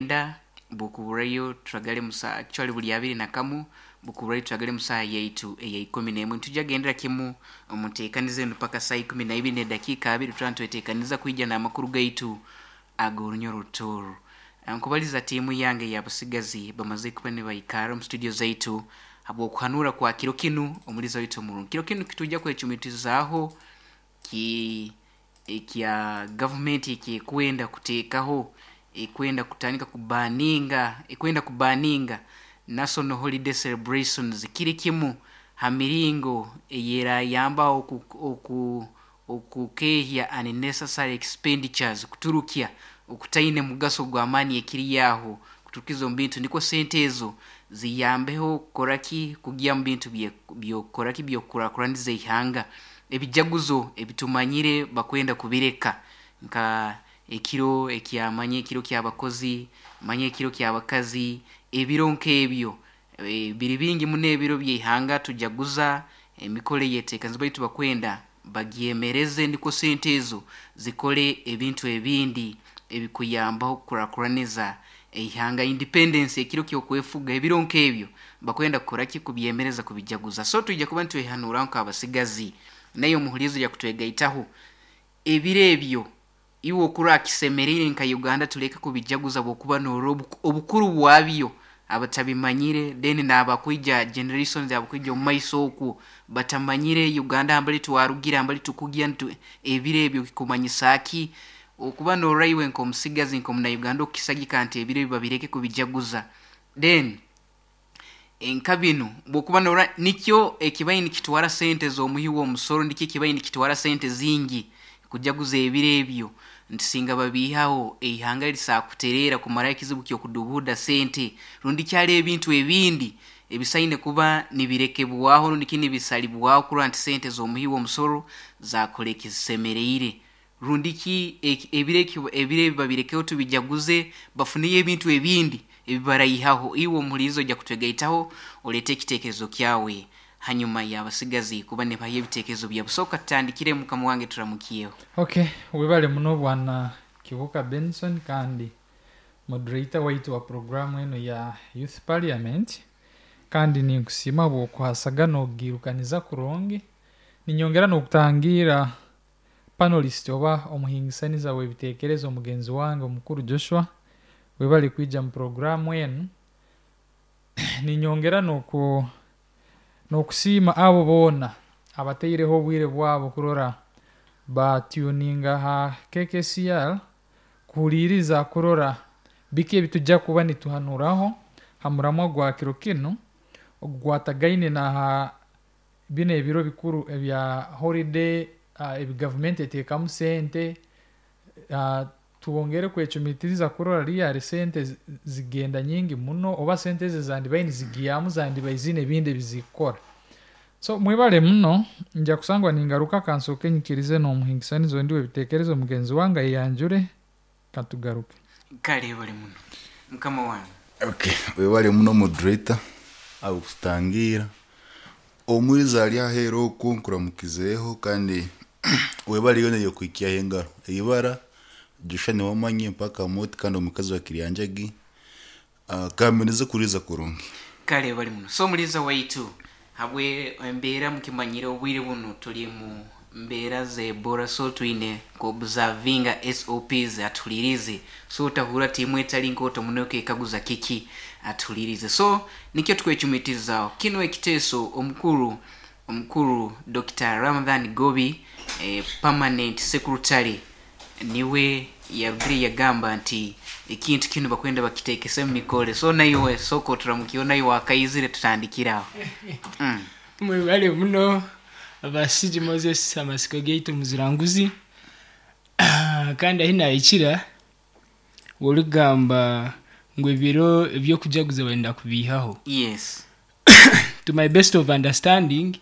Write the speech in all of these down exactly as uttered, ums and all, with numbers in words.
Mwenda bukuburayo turagale musa actually buli abiri na kamu bukuburayo turagale musaha yaitu eya ikumi n'emwe. Ntujja gendera kimu omuteekaniza enu paka saa ikumi na ibiri n'edakiika abiri, tuba nitweteekaniza kwija n'amakuru gaitu ag'orunyoro Rutooro. Nkubaliza tiimu yange y'abasigazi bamaze kuba nibaikara omu studio zaitu habw'okuhanura kwa kiro kinu. Omuliza waitu omurungi, kiro kinu kitujja kwecumitizaaho ki ekya gavumenti ekyekwenda kuteekaho, ekwenda kutandika kubaninga ekwenda kubaninga national holiday celebrations. Kiri kimu ha miringo eyerayambaho oku, oku, okukehya unnecessary expenditures, kuturukya okutaine mugaso gw'amaani ekiri aho kuturukiza omu bintu, nikwo sente ezo ziyambeho kukoraki, kugya mu bintu byokukoraki, byokukurakuraniza ihanga. Ebijaguzo ebitumanyire bakwenda kubireka, nka ekiro ekyamanya ekiro ky'abakozi, manya ekiro ky'abakazi, ebiro nk'ebyo e, biri bingi muno ebiro by'ihanga tujaguza, emikoro eyeteekaniza, baitu bakwenda bagyemereze nikwo sente ezo zikole ebintu ebindi ebikuyambaho kukurakuraniza eihanga. Independence, ekiro ky'okwefuga, ebiro nk'ebyo bakwenda kukoraki, kubyemereza kubijaguza. So twija kuba nitwehanuraho nk'abasigazi, naye omuhulizo yakutwegaitaho ebiro ebyo iwe okura kisemereire nka Uganda tuleke kubijaguza, bwokuba norora obukuru bwabyo abatabimanyire, then n'abakwija generations abakwija omu maiso okwo batamanyire Uganda hambali twarugire, hambali tukugya, ebiro ebyo kikumanyisa ki okuba norora iwe nk'omusigazi, nk'omunauganda, okukisagika nti ebiro ebyo babireke kubijaguza. Then nka binu bwokuba norora nikyo ekibaire nikitwara sente z'omuhi w'omusoro, nikyo ekibaire nikitwara sente zingi kujaguza ebiro ebyo, nti singa babiihaho eihanga lisakutereera kumaraho ekizibu ky'okudubuuda sente, rundi kyali ebintu ebindi ebisaine kuba nibirekebwaho rundi ki nibisalibwaho kurora nti sente z'omuhi w'omusoro zakora ekizisemereire, rundi ki ebiro ebiro ebi babirekeho tubijaguze bafuneyo ebintu ebindi ebibaraihaho. Iwe omuhuliiriza ojja kutwegaitaho oleete ekiteekerezo kyawe hanyuma y'abasigazi kuba nibahayo ebiteekerezo byabo. So katutandikire, mukama wange, turamukyeho. Okay, webale muno bwana Kibuka Benson kandi moderator waitu wa programu eno ya Youth Parliament, kandi ninkusiima bw'okuhasaga n'ogirukaniza kurungi. Ninyongera n'okutangira panelist oba omuhingisaniza w'ebiteekerezo mugenzi wange omukuru Joshua, webale kwija mu programu enu. Ninyongera n'oku n'okusiima abo boona abataireho obwire bwabo kurora batuninga ha K K C R kuhuliiriza kurora biki ebitujja kuba nituhanuraho ha muramwa gwa kiro kinu ogwatagaine na bino ebiro bikuru ebya holiday uh, ebi gavumenti eteekamu sente uh, twongere kwecumitiriza kurora riyari sente zi- zigenda nyingi muno, oba sente ezi zandibaire nizigyamu zandibaire ziine ebindi ebizikukora. So mwebale muno, nja kusangwa ningaruka. Kansooke nyikirize n'omuhingisanizo ondi w'ebiteekerezo mugenzi wange ayanjure, katugaruke. Kale bali muno, mukama wange. Okay, webale muno moderator abukutangira. Omuriza ali aheera okwo, nkuramukizeeho kandi webale yona yokwikyaho engaro. Eibara Joshua niwamanye mpaka moti kandi omukazi wa Kiryanjagi. uh, kamenize kuriza kurungi. Kale bali muno. So omuliza waitu, habwe embeera mukimanyire obwire buno tuli mu mbeera z'Ebola, so twine kuobservinga S O Ps. Atulirize, so otahura tiimu etali nkooto muno kekaguza kiki, atulirize. So nikyo tukwecumitizaho kino ekiteeso. Omukuru omukuru Doctor Ramadhan Gobi, eh, permanent secretary, niwe yarugire yagamba nti ekintu kinu bakwenda bakitekese mu mikole. So naiwe soko turamukiyo, naiwe wakaizire, tutandikiraho mm. Mwebale muno abasigi Moses, amasiko gaitu muziranguzi. Kandi ahi nahikira origamba ngu ebiro ebyokujaguza benda kubihaho, yes to my best of understanding,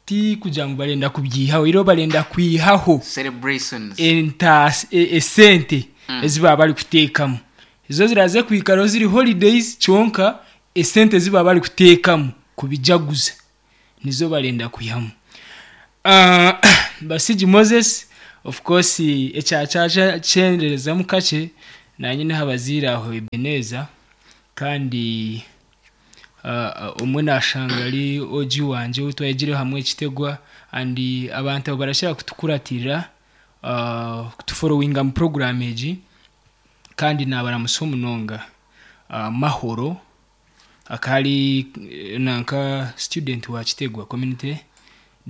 ti kugira ngu barenda kubyihaho, iro barenda kwihaho celebrations, entasi e- esente Mm. ezi baba bari kuteekamu. Ezo ziraze kwikaraho ziri holidays, kyonka esente ziba bari kuteekamu kubijaguza nizo barenda kwihamu. uh, basigi Moses, of course ekyakyaja kyenderezamu kakye. Nanye n'abaziire aho Ebeneza, kandi uh, omwe nashanga ari oji wanje ou twayegire hamwe ekitegwa, and abantu abo barashobora kutukuratirira, uh, kutufollowinga mu program egi, kandi nabaramusa omunonga. Uh, Mahoro akari eh, nanka student wa Kitegwa community,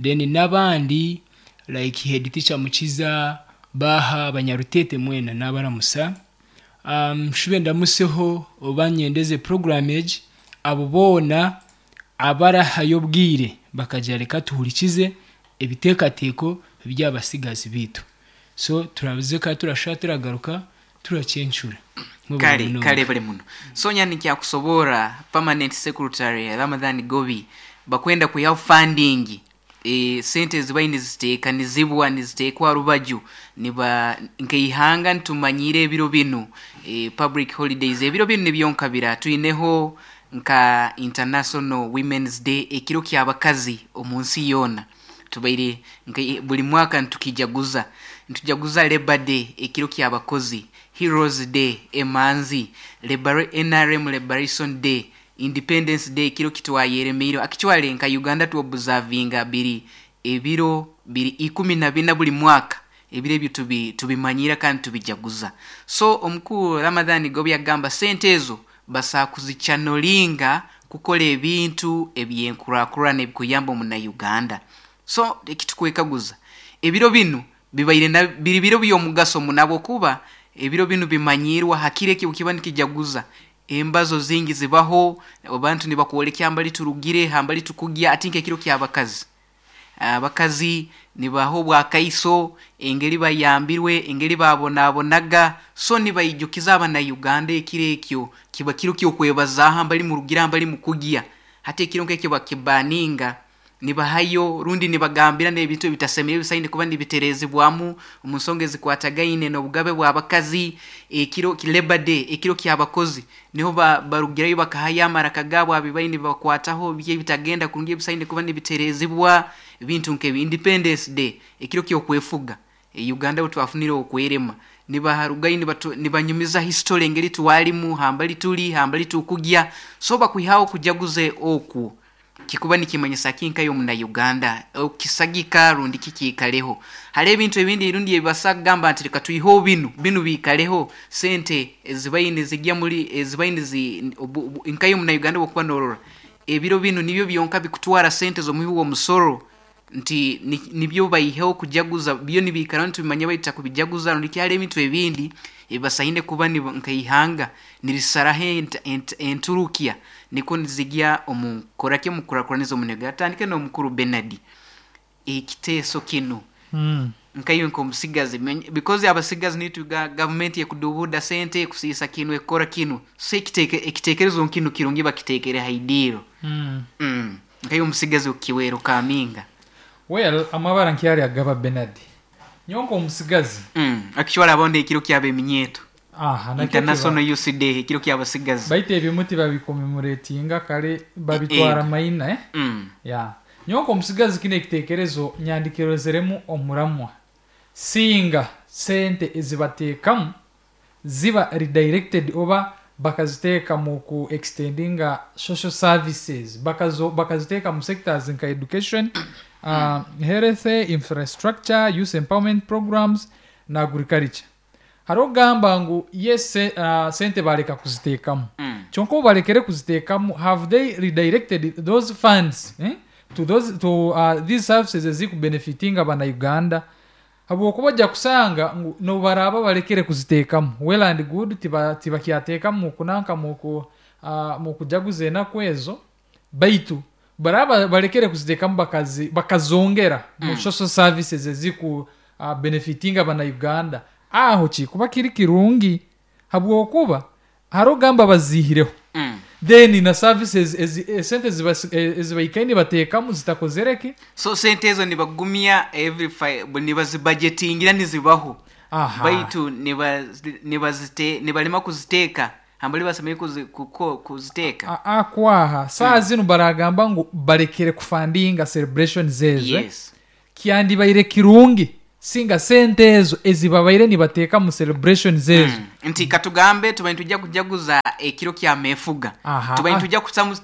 then n'abandi like head teacher Mukiza, Baha, Abanyarutete mwena nabaramusa. um, shube ndamuseho oba nyendeze program egi, abo boona abarahayo obwire bakagira reka tuhurikize ebiteekateeko by'abasigazi bitu. So turabize ka turasha turagaruka turacyencura. Kale kale bali muno. Sonya nikyakusobora permanent secretary Ramadhan Gobi bakwenda kuyaho funding, e, sente zibaye niziteekanizibwa niziteekwa rubaju, niba nkeihanga ntumanyire ebiro binu, e, public holidays ebiro binu nibyonkabira twineho nka International Women's Day, ekiro ky'abakazi omu nsi yoona tubaire nka buli mwaka ntukijaguza, ntujaguza Labor Day ekiro ky'abakozi, Heroes Day emanzi, Libera-, N R M Liberation Day, Independence Day ekiro kitwayeremeire. Actually nka Uganda tuobservinga biri ebiro biri ikumi na bina buli mwaka, ebiro ebyo tubi-, tubimanyira kandi tubijaguza. So omukuru Ramadhan Gobi agamba sente ezo basa kuzichanolinga kukola ebintu ebyenkurakurana ebikuyamba omuna Uganda. So ekitukwekaguza ebiro binu bibaire na biri biro by'omugaso munabo, kuba ebiro binu bimanyirwa hakire ki ukiba nikijaguza embazo zingi zibaho, abantu nibakwolekya ambali turugire ambali tukugya atinke ekiro ky'abakazi. Abakazi nibaho bwakaiso engeri bayambirwe engeri babonabonaga, so nibayijukiza abana Uganda ekiro ekyo kiba kiro ky'okwebaza ambali murugira ambali mukugya, hati ekiro nk'ekyo bakibaninga nibahayo rundi nibagambira n'ebintu ebitasemire bisaine kuba nibiterezibwamu omu nsonga ezikwatagaine n'obugabe bw'abakazi. Ekiro ki Labor Day ekiro ky'abakozi niho ba-, barugirayo bakahaya amaraka gaabo abibaine bakwataho bye bitagenda kurungi bisaine kuba nibiterezibwa, ebintu nk'ebi. Independence Day ekiro ky'okwefuga, e, Uganda twafunire okwerema, nibaharugayo nibatu-, nibanyumiza history engeri twalimu hambali tuli hambali tukugya. So bakwihaho kujaguze oku kikuba nikimanyisa kinka yo muna Uganda okisagika rundi kikikaleho. Hali ebintu ebindi rundi ebasagamba nti reka tuyiho binu binu bikaleho sente ezibaine zijya muri ezibaine zi nka yo muna Uganda bokuba norora ebiro binu nibyo byonka bikutwara sente zo muhiwo omusoro nti ni-, nibyo bayiheho kujaguza byo nibikara nti bimanye bayita kubijaguza rundi kyali ebintu ebindi ebasaine kuba ni nkaihanga nirisarahe ent-, ent-, enturukia niko nizigya omukorake mukurakuraniza omunega. Atandike n'omukuru Bernard ekiteeso kino. Mm. Nkayo nkomusigazi, menye-, because abasigazi nitu ga-, government yekudubuda sente kusisa kino ekora kino, so ekiteke-, ekitekerezo nkino kirungi bakitekere haidiro. Mm. Mm. Nkayo omusigazi okiwero kaminga. Well, amabara nkyari agaba Bernard nyonko omusigazi. Mm. Actually abonde ekiro kyabe eminyeto. Aha, na International kyo Youth Day ekiro kyabasigazi. Baite ebimuti babikomemoratinga kale babitwara Eh. maina, eh? Mm. Ya. Nyonko omusigazi kine ekitekerezo nyandikirozeremu omuramwa. Singa sente ezibateekamu ziba redirected oba bakaziteeka mu ku extendinga social services, bakazo, bakaziteeka mu sectors nka education, uh, health, infrastructure, youth empowerment programs na agriculture. Hariho ogamba ngu yes, uh, sente baleka kuziteekamu. Mm. Kyonka obu balekere kuziteekamu, have they redirected those funds, eh, to those, to, uh, these services ezikubenefitinga bana Uganda? Habwokuba ojja kusanga ngu nobaraba balekere kuziteekamu, well and good, tiba, tibakyateekamu mu kunanka, mu ku, uh, mu kujaguza enaku ezo, baitu baraba balekere kuziteekamu bakazi, bakazongera mu Mm. social services eziku, uh, benefitinga bana Uganda. Aho ki kuba kiri kirungi, habwokuba hariho ogamba bazihireho. Mm. Then na services ezi, e, sente ziba, e, ezibaikaine bateekamu zitakozereki. So sente ezo nibagumya every five, nibazibudgetingira nizibaho. Aha. Baitu niba-, nibazite-, nibalema kuziteeka. Hambali basemeye kuzi-, kuko-, kuziteeka. A-, a, kwaha. Saa Mm. zino baragamba ngu balekere kufandinga celebration zezo, eh? Yes. Kyandibaire kirungi Singa sente ezo ezibabaire nibateeka mu celebrations ezo. Mm. Nti katugambe tubaire nitujja kujaguza ekiro kya mefuga. Aha. Tubaire nitujja kusamu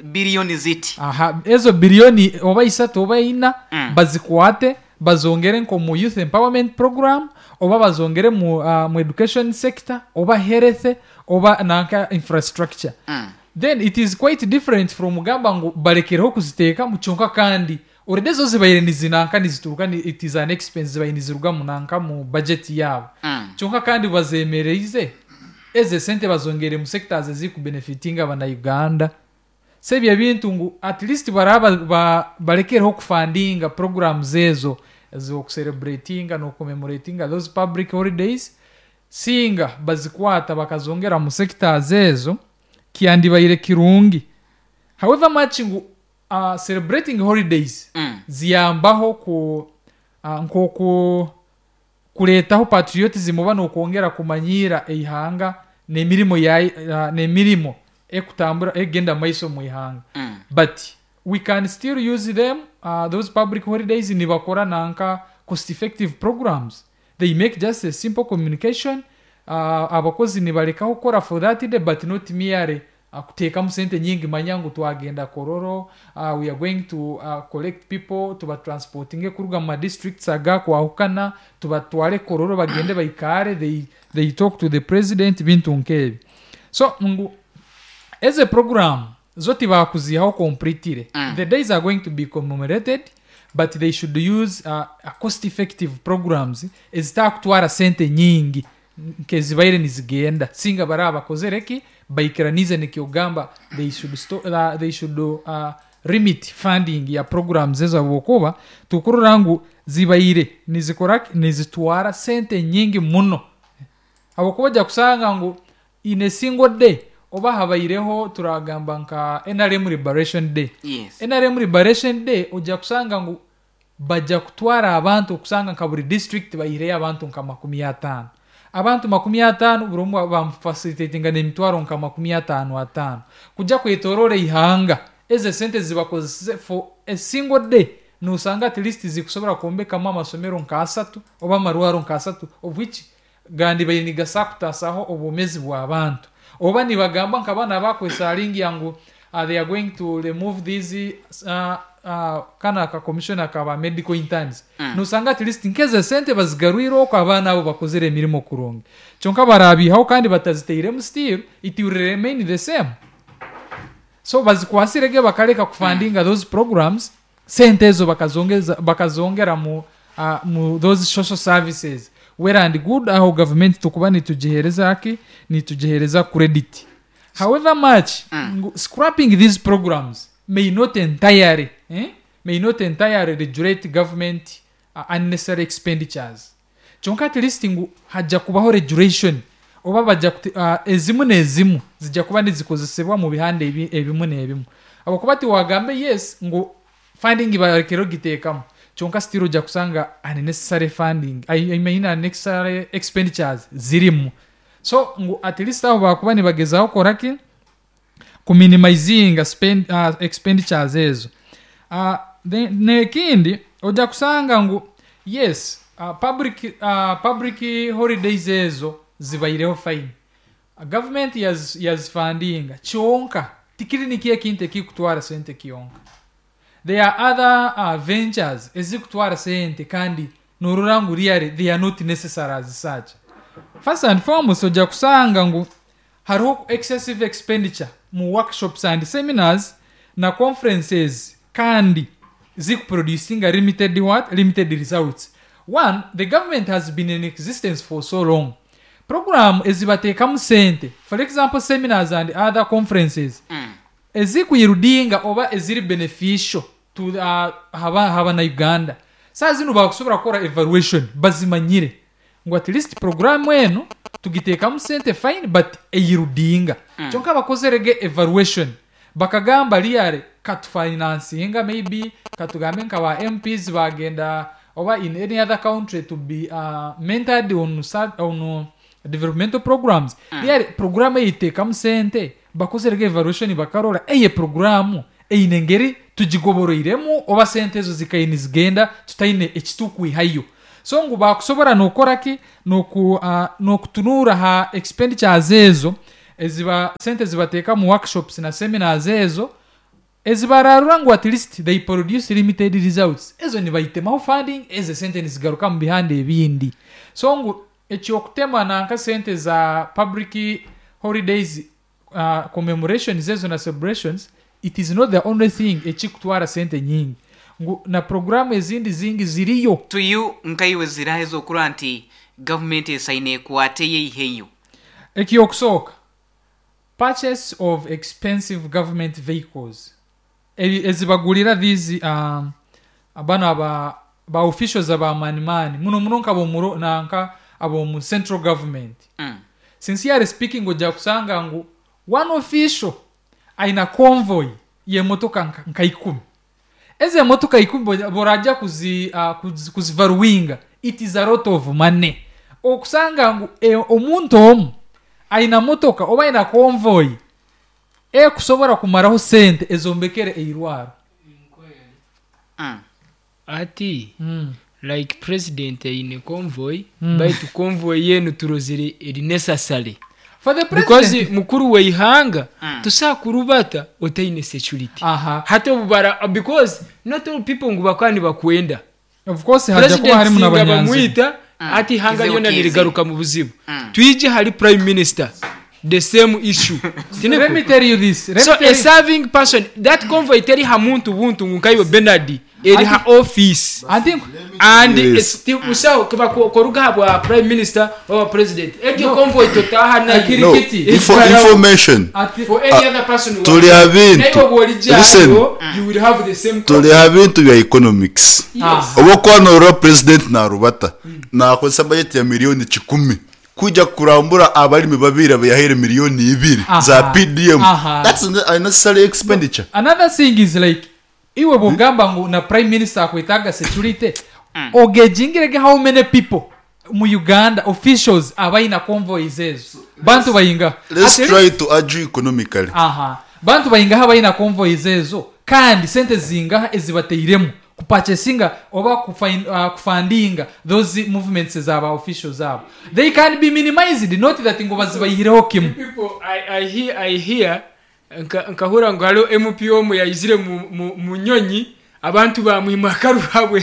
biliyoni ziti. Aha, ezo biliyoni oba isatu oba ina, Mm. bazikwate bazongere nko mu youth empowerment program, oba bazongere mu, uh, mu education sector, oba health, oba nanka infrastructure. Mm. Then it is quite different from gamba ngu balekereho kuziteeka mu kyonka, kandi already zo zibaire nizinanka nizituruka, ni, it is an expense, zibaire niziruga mu nanka mu budget yabo. Mm. Kyonka kandi bazemereize eze sente bazongere mu sectors ezikubenefitinga abana-Uganda. Sebyo ebintu ngu at least baraba ba, balekereho kufundinga programs ezo ez'okucelebratinga n'okucommemoratinga those public holidays. Singa bazikwata bakazongera mu sectors ezo, kyandibaire kirungi. However much ngu uh, celebrating holidays Mm. ziyambaho ku uh, nkoku kureetaho patriotism oba n'okwongera kumanyiira eihanga n'emirimo ya uh, n'emirimo ekutambura egenda maiso mu ihanga, Mm. but we can still use them, uh, those public holidays, nibakora nanka cost effective programs. They make just a simple communication, uh, abakozi nibalekaho kukora for that day, but not merely uh, kuteekamu sente nyingi, manya ngu twagenda Kololo, uh, we are going to uh, collect people, tubatransportinge kuruga mu madistricts agakwahukana, tubatware Kololo, bagende baikare, they, they talk to the president, bintu nkebi. So ngu as a program zo tibakuzihaho completely. Mm. The days are going to be commemorated, but they should use uh, a cost effective programs ezitakutwara sente nyingi nkezibaire nizigenda. Singa baraba bakozere baikiranize nikyogamba they should, sto- uh, they should uh, limit funding ya programs ezo, habwokuba tukurora ngu zibaire nizikora nizitwara sente nyingi muno, habwokuba ojja kusanga ngu in a single day, oba habaireho turagamba nka N R M Liberation Day. Yes. N R M Liberation Day ojja kusanga ngu bajja kutwara abantu, okusanga nka buri district bayireyo abantu nka makumi ataano, abantu makumi ataano, buri omwe bamufacilitatinga n'emitwaro nka makumi ataano ataano kujja kwetorora ihanga. Ezo sente zibakozese for a single day, nusanga at least zikusobora kwombekamu amasomero nka asatu oba amarwaro nka asatu, of which gandi baire nigasa kutasaho obwomezi bw'abantu. Oba nibagamba nka bana bakwesalingi ngu uh, they are going to remove these uh, uh, kana ka commissioner kaba medical interns, mm. nusanga at least nkeze sente bazigarwire oko abaana abo bakozere emirimo kurungi. Kyonka barabihaho kandi bataziteiremu, still it will remain the same. So bazikwasirege bakaleka kufundinga those programs, sente ezo bakazongeza bakazongera mu, uh, mu those social services. Well and good, aho government tukuba nitugihereza ki nitugihereza credit. However much mm. scrapping these programs may not entirely eh? may not entirely regulate government uh, unnecessary expenditures, kyonka at least ngu hajja kubaho regulation, oba bajja kuti- uh, ezimu n'ezimu zijja kuba nizikozesebwa mu bihanda ebi- ebimu n'ebimu, habwokuba tiwagambe yes ngu funding balekere ogiteekamu, kyonka still ojja kusanga unnecessary funding, I, I mean unnecessary expenditures zirimu. So ngu at least aho bakuba nibagezaho koraki kuminimizinga spend, uh, expenditures ezo. uh, then- nekindi ojja kusanga ngu yes, uh, public, uh, public holidays ezo zibaireho fine, uh, government yaz- yazifundinga, kyonka tikiri nikyo ekintu ekikutwara sente kyonka. There are other uh, ventures ezikutwara sente kandi norora ngu really they are not necessary as such. First and foremost, ojja kusanga ngu hariho excessive expenditure mu workshops and seminars na conferences, kandi zikuproducinga limited what limited results. One, the government has been in existence for so long. Program ezibateekamu sente, for example seminars and other conferences, Mm. ezikuyirudinga oba eziri beneficial to uh, haba, haba na Uganda, saa zino bakusobora kukora evaluation, bazimanyire ngu at least programu eno tugiteekamu sente fine, but eyirudinga mm. Kyonka bakozerege evaluation, bakagamba really katufinancinga, maybe katugambe nka ba M Ps bagenda oba in any other country to be uh, mentored on, sa- on uh, developmental programs mm. Really programu eyiteekamu sente, bakozerege evaluation, bakarora eye programu eine engeri tugigoboroiremu, oba sente ezo zikaine zigenda tutaine ekitukwihayo. So ngu bakusobora nokora ki noku uh, nokutunura ha expenditures ezo eziba sente zibateeka mu workshops na seminars ezo ezibararura ngu at least they produce limited results, ezo nibaitemaho funding, ezo sente nizigaruka mu bihanda ebindi. So ngu ekyokutema nanka sente za public holidays, uh, commemorations ezo na celebrations, it is not the only thing ekikutwara sente nyingi, ngu na programu ezindi zingi ziriyo. To you nkaiwe zirahe zokura nti government esaine ekwate yeiheyo? Ekyokusooka, purchase of expensive government vehicles. Ebi- ezibagulira these um, bano aba ba officials abamanimani muno muno nkabomuro nanka abomu central government. Mm. Sincerely speaking, ojja kusanga ngu one official aina convoy y'emotoka nka, nka ikumi. Ezo emotoka ikumi bo- borajja kuzi, uh, kuzi, kuzivaluinga, it is a lot of money. Okusanga ngu e, omuntu omu aina motoka oba aina convoy ekusobora kumaraho sente ezombekere eirwaro. Mm. Ati mm. like president aine convoy, Mm. baitu convoy yenu turozire eri necessary For the because president. mukuru weihanga Mm. tusakurubata otaine security. Aha. Hati obubara because not all people ngu bakaba nibakwenda. Of course hajja kuba President harimu singa n'abanyanzi. bamwita Mm. ati ihanga Kizibu lyona kizi. nirigaruka mu buzibu. Mm. Twije hari prime minister, the same issue. Let me tell you this. Let So me tell a you, serving person, that convoy teri ha muntu buntu ngu nkaiwe Bernard, eri ha office. I think And Yes. it's usaho kiba ko- koruga ha bwa prime minister or president, egyo No. convoy totaha nayo. Akiri- No, Kirikiti. info, It's information. ati, For any other person who Tuli wants. abintu. Naye bw'olijja Listen. awo, you will have the same Tuli ha bintu bya economics. Ah. Obwokwanurira president narubata nakozesa budget ya miliyoni kikumi kujja kurambura abalimi babiri abayahaire miliyoni ibiri Aha. za P D M. Aha. That's an unnecessary expenditure. Another thing is like iwe bwogamba ngu na prime minister akwetaaga security, ogejingirege how many people mu Uganda officials abaina convoys ezo, bantu bayinga? Let's At try least- to argue economically. Aha, bantu bayingaho abaina convoys ezo, kandi sente zingaha ezibateiremu kupurchasinga oba kufain- uh, kufundinga those movements zaba officials abo? They can be minimized, not that ngo bazibayihireho kimu. People I, I hear, I hear nka- nkahura ngu hariho M P omu yayizire mu, mu, mu nyonyi, abantu bamwima akarurabwe.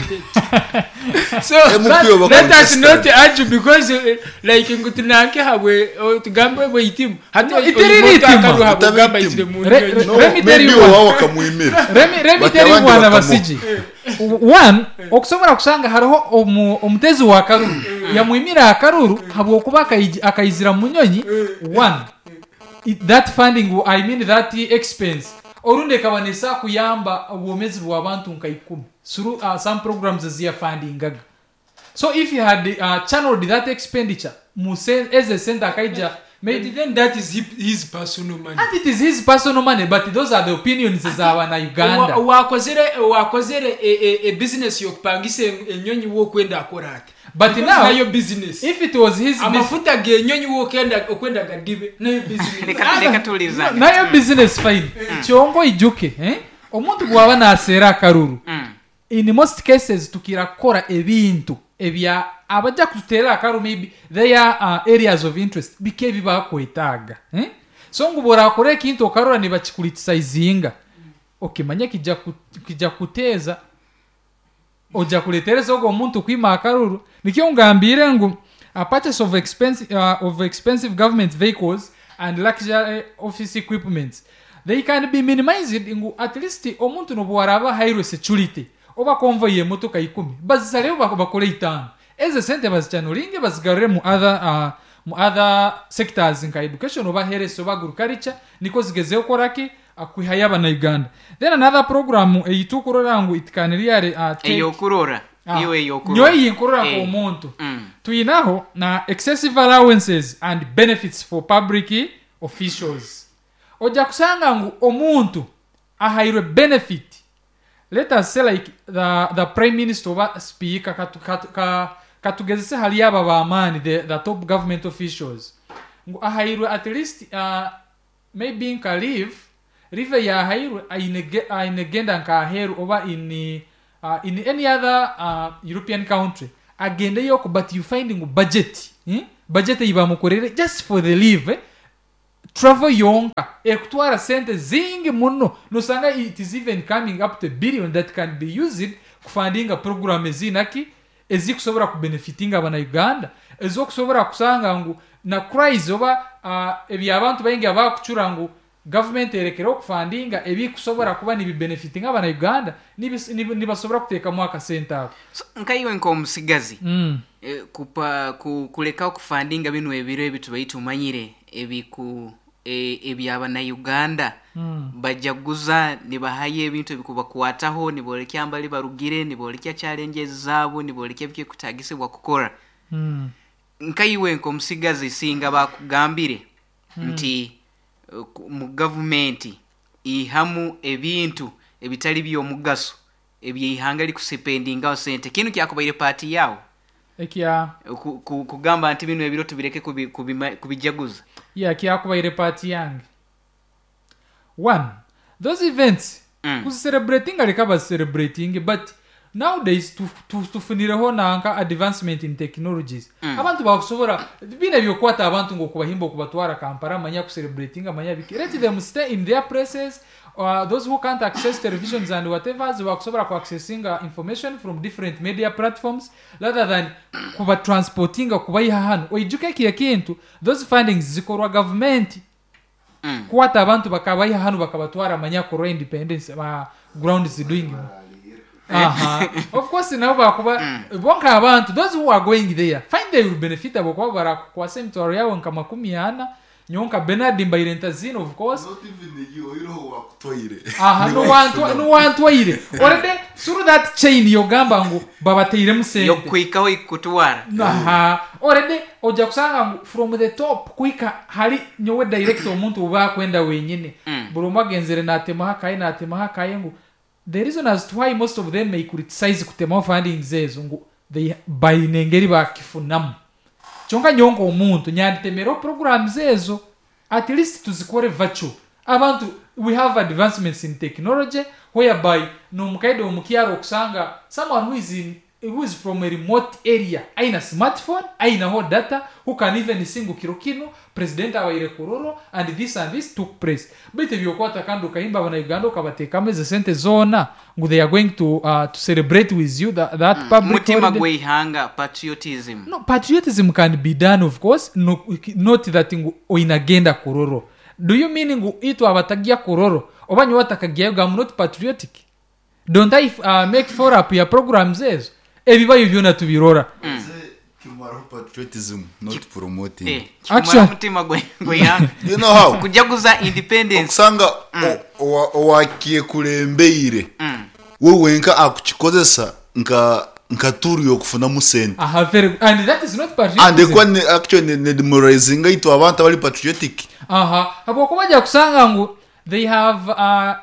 So M P oba let us contestant. not argue because uh, like ngu tunanke habwe o, tugambe bweitimu hati No, itiri ritima. ogamba ayizire mu Re- nyonyi. re- No, Let me tell maybe you one. owawe bakamwimira. Let me- let me But tell you abandi one, bakamuha. abasiji one, okusobora kusanga hariho omu- omutezi wa karuru yamwimira akaruru habwokuba akaiji- akaizira mu nyonyi. One, it, that funding, I mean that expense, orundi ekaba nesa kuyamba obwomezi bw'abantu nka ikumi through uh, some programs eziyafundingaga. So if you had uh, channeled that expenditure mu sen- as a center akaija maybe. But then that is his, his personal money. And it is his personal money, but those are the opinions z'abana Uganda. Wa- wakozere wakozere e, e, e business yokupangisa enyonyi wokwenda akora ati But Because now, nayo business. if it was his business, Amafuta genyonyi wokenda okwenda gadibe nayo business. Reka reka tuwuliriza. Nayo business, fine. Kyonko ijuke, eh? Omuntu bwaba naseera akaruru, Mm. in most cases tukira kukora ebintu ebya abajja kututeera akaruru, maybe their uh, areas of interest bike ebibakwetaaga, eh? So ngu bworakora ekintu okarora nibakikuritisayizinga, okimanye kijja ku- kijja kuteeza ojja kuletereza ogwo omuntu kwima akaruru. Nikyo ngambire ngu a purchase of expensive, uh, of expensive government vehicles and luxury office equipments, they can be minimized, ngu at least omuntu nobwaraba hairwe security oba convoy y'emotoka ikumi, bazisaleho bak- bakore itaano, ezo sente bazichannelinge bazigarure mu other uh, mu other sectors nka education oba health oba agriculture, niko zigezeho koraki akwihayo abanauganda. Then another program eyitukurora ngu it can really uh, take Eyokurora. Ah, Iwe eyokurora. nyowe yinkurora Eh. nk'omuntu. Mm. Tuyinaho na excessive allowances and benefits for public officials. Ojja kusanga ngu omuntu ahairwe benefit, let us say like the, the prime minister oba speaker, katu, katu, ka, katugezese hali aba bamaani, the, the top government officials, ngu ahairwe at least uh, maybe nka leave leave yahairwe aine ainegenda nka aheru oba in, uh, in any other uh, European country. Agendeyo ku, but you find ngu budget, eh? Budget ei bamukorere just for the leave, eh? Travel yonka ekutwara sente zingi muno, nosanga it is even coming up to a billion that can be used kufundinga program ezinaki ezikusobora kubenefitinga abanauganda, ezokusobora kusanga ngu na cries oba uh, ebyabantu baingi abakucura ngu government erekere okufundinga ebikusobora kuba nibibenefitinga abanauganda, nibis- nib- nibasobora kuteekamu akasente ako. So, nkaiwe nk'omusigazi, mm. eh, kupa ku, kuleka okufundinga bino ebiro ebi tubaire tumanyire ebiku e, ebyabanauganda Mm. bajaguza nibahayo ebintu ebikubakwataho, nibolekya mbali barugire, nibolekya challenges zaabo, nibolekya bikekutagisibwa kukora. Mm. Nkaiwe nk'omusigazi, singa bakugambire nti eh, ku- mu gavumenti ihamu ebintu ebitali by'omugaso ebyeihanga likusipendingaho sente, kinu kyakubaire paati yawo? Ekya? Ku- ku- kugamba nti bino ebiro tubireke kubi- kubima- kubijaguza. Yeah, kyakubaire part yange. One, those events, Mm. kuzicelebratinga leka bazicelebrating, but nowadays tu- tu- tufunireho nanka advancement in technologies. Mm. Abantu bakusobora bina byokwata abantu ng'okubahimba okubatwara Kampala manya kucelebratinga manya biki. Let them stay in their places. uh, those who can't access televisions and whatever, bakusobora kuaccessinga information from different media platforms rather than kubatransportinga kubayiha hano. Oijuke eki ekintu, those fundings zikorwa gavumenti. Mm. Kukwata abantu bakabayiha hano bakabatwara manya kurwa independence ba ground doing. Aha, of course nabo bakuba bonka abantu, those who are going there find they will benefit, abo kuba barakukwasa emitwaro yawe nka makumi ana. Nyonka Bernard mbaire ntazina, of course. Not even you, oiroho wakutwaire. Aha, nuwantwaire already through that chain yogamba ngu babateiremu sente. Yokukwikaho ikutwara. Aha, already ojja kusanga ngu from the top kuhika hali nyowe direct omuntu oba akwenda wenyine. Mm. Buli omwe agenzere natemaho akaye, natemaho akaye, ngu the reason as to why most of them may criticize kutemaho fundings ezo ngu they baine engeri bakifunamu. Kyonka nyonka omuntu nyanditemeraho programs ezo, at least tuzikore virtual. Abantu, we have advancements in technology whereby nomukaide omukyaro okusanga someone who is in who is from a remote area aina smartphone, ainaho data, who can even see ngu kiro kino president abaire Kororo and this and this took place. Baitu ebyokwata kandi okahimba abanauganda okabateekamu ezo sente zoona ngu they are going to, uh, to celebrate with you that, that public Mutima holiday. Gweihanga, patriotism. No, patriotism can be done, of course. No, not that ngu oinagenda Kororo. Do you mean ngu itwe abatagia Kororo oba nyowe atakagiayo I'm not patriotic? Don't I uh, make follow up ya programs ezo? Ebibayo byona tubirora. Nze kimaraho patriotism, not promoting. Eh, Actually- kimara mutima gwe- gweihanga You know how? Kujaguza independence. Okusanga o- owa- owakyekulembeire Mm. we wenka akukikozesa nka nka turu yokufunamu sente. Aha, very good. And that is not And patriotism. ekuba ne- actually ne demoralizinga itwe abantu abali patriotic. Aha, habwokuba bajja kusanga ngu they have uh,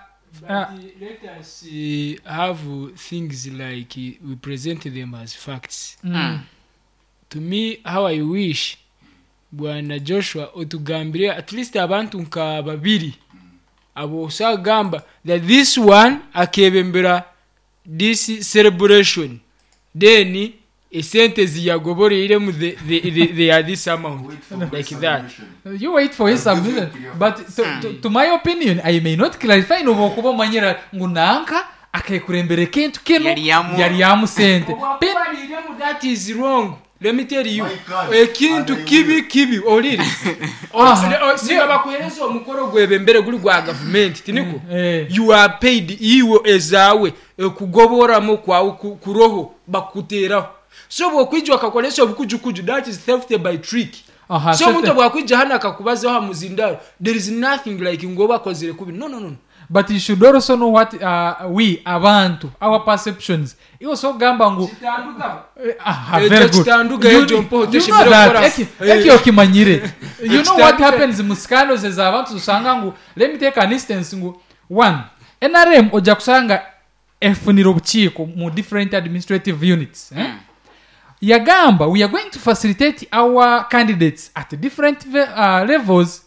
uh, Let us uh, have things like uh, we present them as facts. mm, To me, how I wish bwana Joshua otugambire at least abantu nka babiri abo osagamba that this one akebembera this celebration, then esente ziyagoboreiremu the, the, the, they are this amount, like that. You wait for his submission, but to, to, to my opinion, I may not clarify nobokuba omanyira ngu nanka akekurembera ekintu kino. Yali yamu- Yali yamu sente. Pin- Obwakubaliremu, that is wrong, let me tell you. My God. Ekintu kibi kibi olire. Aha. Singa bakuhereza omukoro gwebembere guli gwa gavumenti, tiniko? Eh. You are paid, iwe ezaawe ekugoboramu kwawe ku- kuroho bakuteraho. So bwokwija akakolesa obukujukuju, that is theft by trick. Aha, So omuntu theft- bwakwija hano akakubazaho hamuzindaro, there is nothing like ngo bakozere kubi. No, no, no. But you should also know what uh, we abantu, our perceptions, iwe sogamba ngu Kitanduka. Eh, aha, Ekyo very good. kitanduka, You- ekyo mpoho you know teshemere that. kukora. Eki- Eh. ekyo okimanyire. You know what Kitanduka. happens mu scandals ez'abantu, osanga ngu, let me take an instance, ngu one, N R M ojja kusanga efunira obukiiko mu different administrative units, eh? Yagamba we are going to facilitate our candidates at different ve- uh, levels.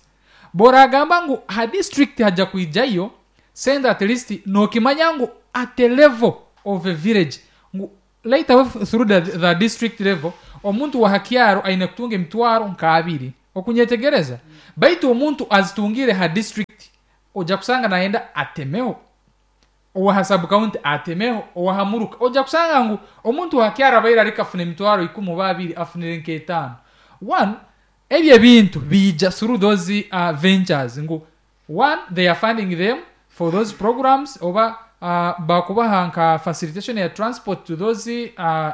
Boragamba ngu ha district hajja kwijayo send, at least nokimanya ngu at a level of a village ngu Later through the, the district level, omuntu wa hakyaro aine kutunga emitwaro nka abiri, okunyetegereza? Baitu omuntu azitungire ha district, ojja kusanga nayenda atemeho, owa sub county atemeho, owa hamuruka. Ojja kusanga ngu omuntu wa hakyaro abaire ariko afuna emitwaro ikumi oba abiri, afunire nk'etaano. One, ebyo ebintu biija through those uh, ventures, ngu one, they are funding them for those programs, oba uh, bakubaha nka facilitation ya transport to those uh,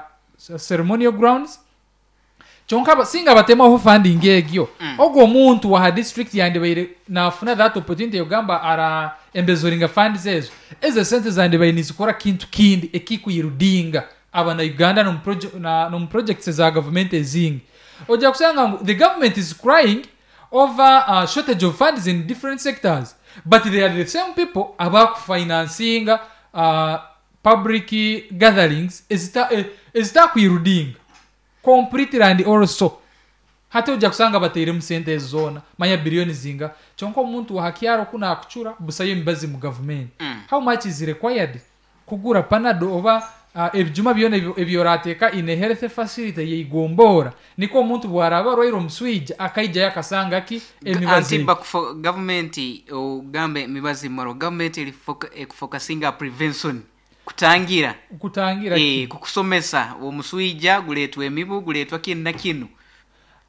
ceremonial grounds. Kyonka ba- singa batemaho funding egyo, mm. ogwo omuntu waha district yandibaire nafuna that opportunity yogamba ara embezoringa funds ezo, ezo sente zandibaire nizikora kintu kindi ekikuyirudinga abana Uganda nomu proje- na- nomu projects za government ezingi. Ojja kusanga ngu the government is crying over uh, shortage of funds in different sectors, but they are the same people abakufinancinga uh, public gatherings ezita- eh, ezitakwirudinga completely. And also hati ojja kusanga bateiremu sente ezo zoona, manya biliyoni zinga, kyonka omuntu wahakyaro kunakucura busayo emibazi mu gavumenti. Mm. How much is required kugura Panado oba uh, ebijuma byona ebyo- ebyorateeka in a health facility yeigombora, niko omuntu bwaraba arwaire omuswija akaijayo akasanga ki emibazi Anti eyo. Bakufo gavumenti, ogambe emibazi maro, gavumenti eri ekufocusinga prevention, kutangira. Kutangira Eh, ki? Kukusomesa omuswija guletwa emibu, guletwa kinu na kinu.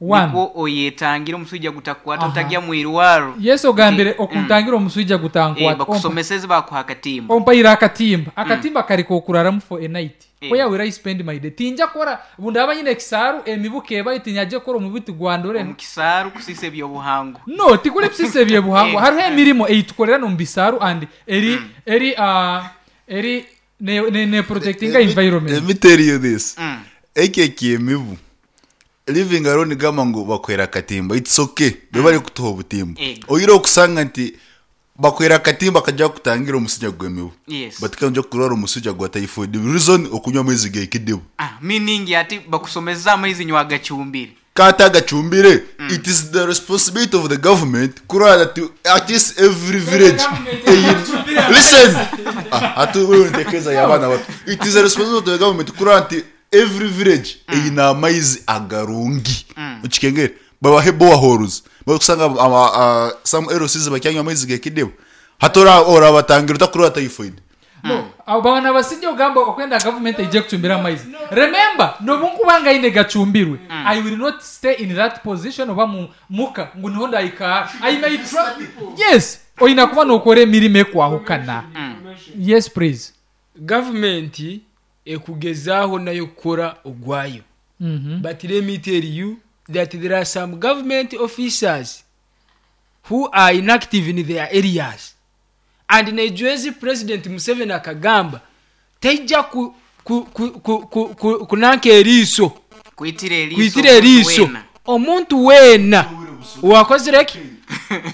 One. Nikwo oyetangira omuswija gutakwata, Aha. otagya mwirwaro. Yesu ogambire Nti- okuntangira omuswija Eh, gutankwata. bakusomeseze, bakuha akatimba. Ompaire akatimba, akatimba kari kokuraramu for a night. Eh. Where will I spend my day? Tinja kora bundaba nyine ekisaaru, emibu kebayo, tinyaje kora omubi tigwandore. Omukisaaru kusisa ebyobuhango. No, tikuli kusisa ebyebuhango. Eh. Hariho emirimo eitukorera nomu bisaaru and eri eri uh, eri ne, ne, ne protectinga Let me- environment. Let me tell you this. Mm. Eki ekyemibu, living alone, gamba ngu bakwera akatimba, it's okay, bebali kutuha obutimba. Ego. Oyire okusanga nti bakwera akatimba kajja kutangira omusujja gw'emibu, Yes. but kanja kurwara omusujja gwa typhoid, reason okunywa amaizi g'ekidibu. Ah, meaning ati bakusomeza amaizi nywa agacumbire. Kata agacumbire. It is the responsibility of the government kurora that at least every village eyi- listen, ah, ati wewe ntekeza y'abaana bato. It is the responsibility of the government kurora nti every village eyina amaizi agarungi, okikengere babahe boreholes. Bakusanga ama- ah, some L Cs bakyanywa amaizi g'ekidibu, hati ora- orabatangira utakurora typhoid? No, abo bana basijja ogamba okwenda government ejje kucumbira amaizi. Remember, nobunkuba ine gacumbirwe, I will not stay in that position oba mu muka ngu niho ndayikara. I may try. Yes, oyina kuba nokora emirimo ekwahukana. Yes, please. Gavumenti ekugezaaho nayo kukora ogwayo, Mhm. but let me tell you that there are some government officers who are inactive in their areas, and nejwezi President Museveni akagamba taija ku, ku, ku, ku, ku, ku, kunanka eriiso. Kwitira eriiso. Kwitira eriiso wena. Omuntu weena owakozireki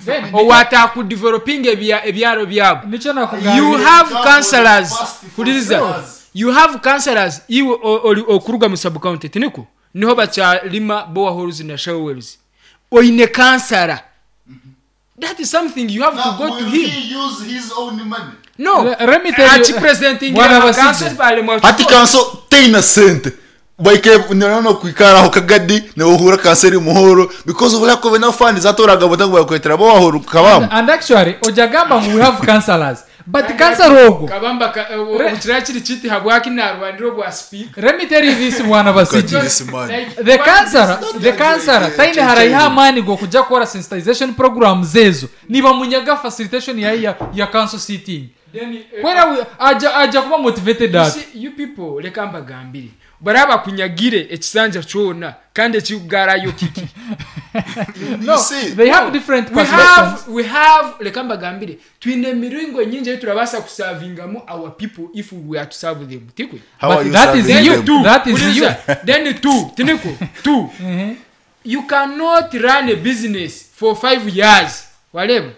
Then, owatakudevelopinga ebya- ebyaro byabo. Nikyo nakugambire. You have councillors, huliriza, you have councillors. Iwe o- oli okuruga mu subcounty, tiniko niho bakyalima boreholes na showers. Oine kansara, that is something you have to go to him. No. Le- let me tell you- Achipresentingira Bwana Basijja. councils balemwa. Hati kanso teina sente, baike nano kwikaraho kagadi newohura kanseri muhoro because of lack of enough funds, atoraga botango bakwetera bohoro kabamu. And actually ojagamba ngu we have councillors, but councillor ogwo Kabamba ka- Re- okukira kiri kiti habwaki narwanira obwa speaker. Let me tell you this, bwana Basijja. This man. The councillor the councillor taine haraiha amaani g'okujja kukora sensitization programs ezo, nibamunyaga facilitation ya, ya, ya council sitting. Then, eh, Kwera we- aja aja kuba motivated You ati see, you people, leka mbagambire, baraba kunyagire ekisanja kyona kandi ekigarayo kiki? No, You see? they have different we perspectives. have we have leka mbagambire, twine emiringo nyingi eyiturabasa kusavingamu our people if we are to serve them, tikwe? How But are you that is serving you. them? Two, That is Uliza, then two, tiniko two, Mhm. you cannot run a business for five years. Waleba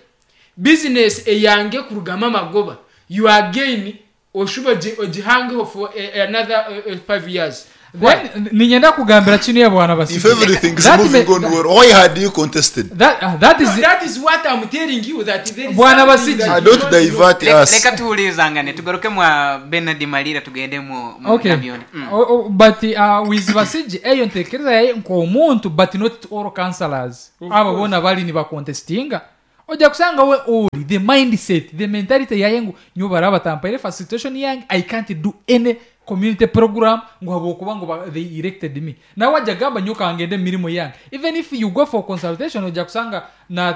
business eyange kurugamu amagoba, you are gain oshuba ogihangeho for a, another uh, uh, five years. Then ninyenda kugambira kino ya bwana If Basigi. everything is That moving may- on well, why had you contested? That, uh, that is No, that is what I'm telling you that there is Bwana something Basigi. that I you don't don't know. divert Leka- us. leka tuwulirizangane tugaruke mwa Bernard Malira tugende mu mu okay Nabyone. Mm. oh, oh, but uh, with Basigi eyo ntekereza yaye nk'omuntu but not all councillors abo bona bali nibacontestinga ojja kusanga we oli the mindset, the mentality yaye ngu nyo baraba tampaire facilitation yange, I can't do any community program ngu habwokuba ngu ba- they elected me. Nawe wajja gamba nyo kangende emirimu yange. Even if you go for consultation ojja kusanga na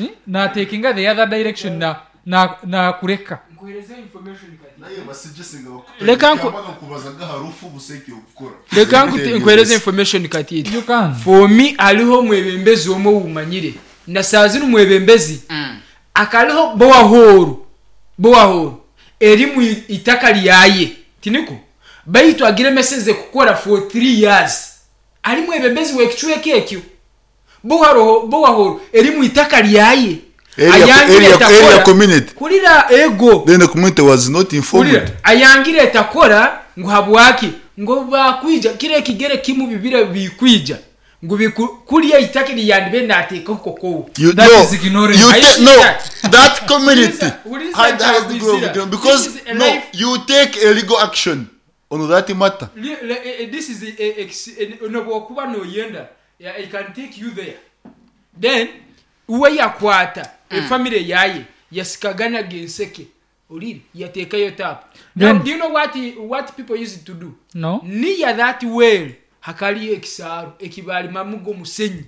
eh, na takinga the other direction na na na kureka. Nkuhereza information kati. Leka Leka nku- Leka nku- nkuhereze information katiti. You can. For me hariho omwebembezi omwe owumanyire na saa zinu mwebembezi Mm. akariho bowahoru bowahoru eri mu itaka lyaye tiniko baitu agire meseze kukora for three years ari mwebembezi wekicweka ekyo bowaroho bowahoru eri mu itaka lyaye Area- Ayangire area- etakora. area community. Kurira ego Then the community was not informed. Kurira ayangire etakora ngu habwaki ngo bakwija kire ekigere kimu bibire bikwija ngu biku- kuriya itaka lyandibe nateekaho kokowo. You That no, is ignorance. You I ta- see no, that. that community What is had that highest degree of Wizira? ignorance because This is a no, life- you take a legal action on that matter. Li- le- eh, eh, this is a- a- ex- eh, nobwokuba noyenda, yeah, I can take you there. Then uwe yakwata efamily yaye yasikaganaga enseke olire yateekayo tap. Now, Then- do you know what, he- what people used to do? No. Near that well hakaliyo ekisaaru ekibalimamu g'omusenyi,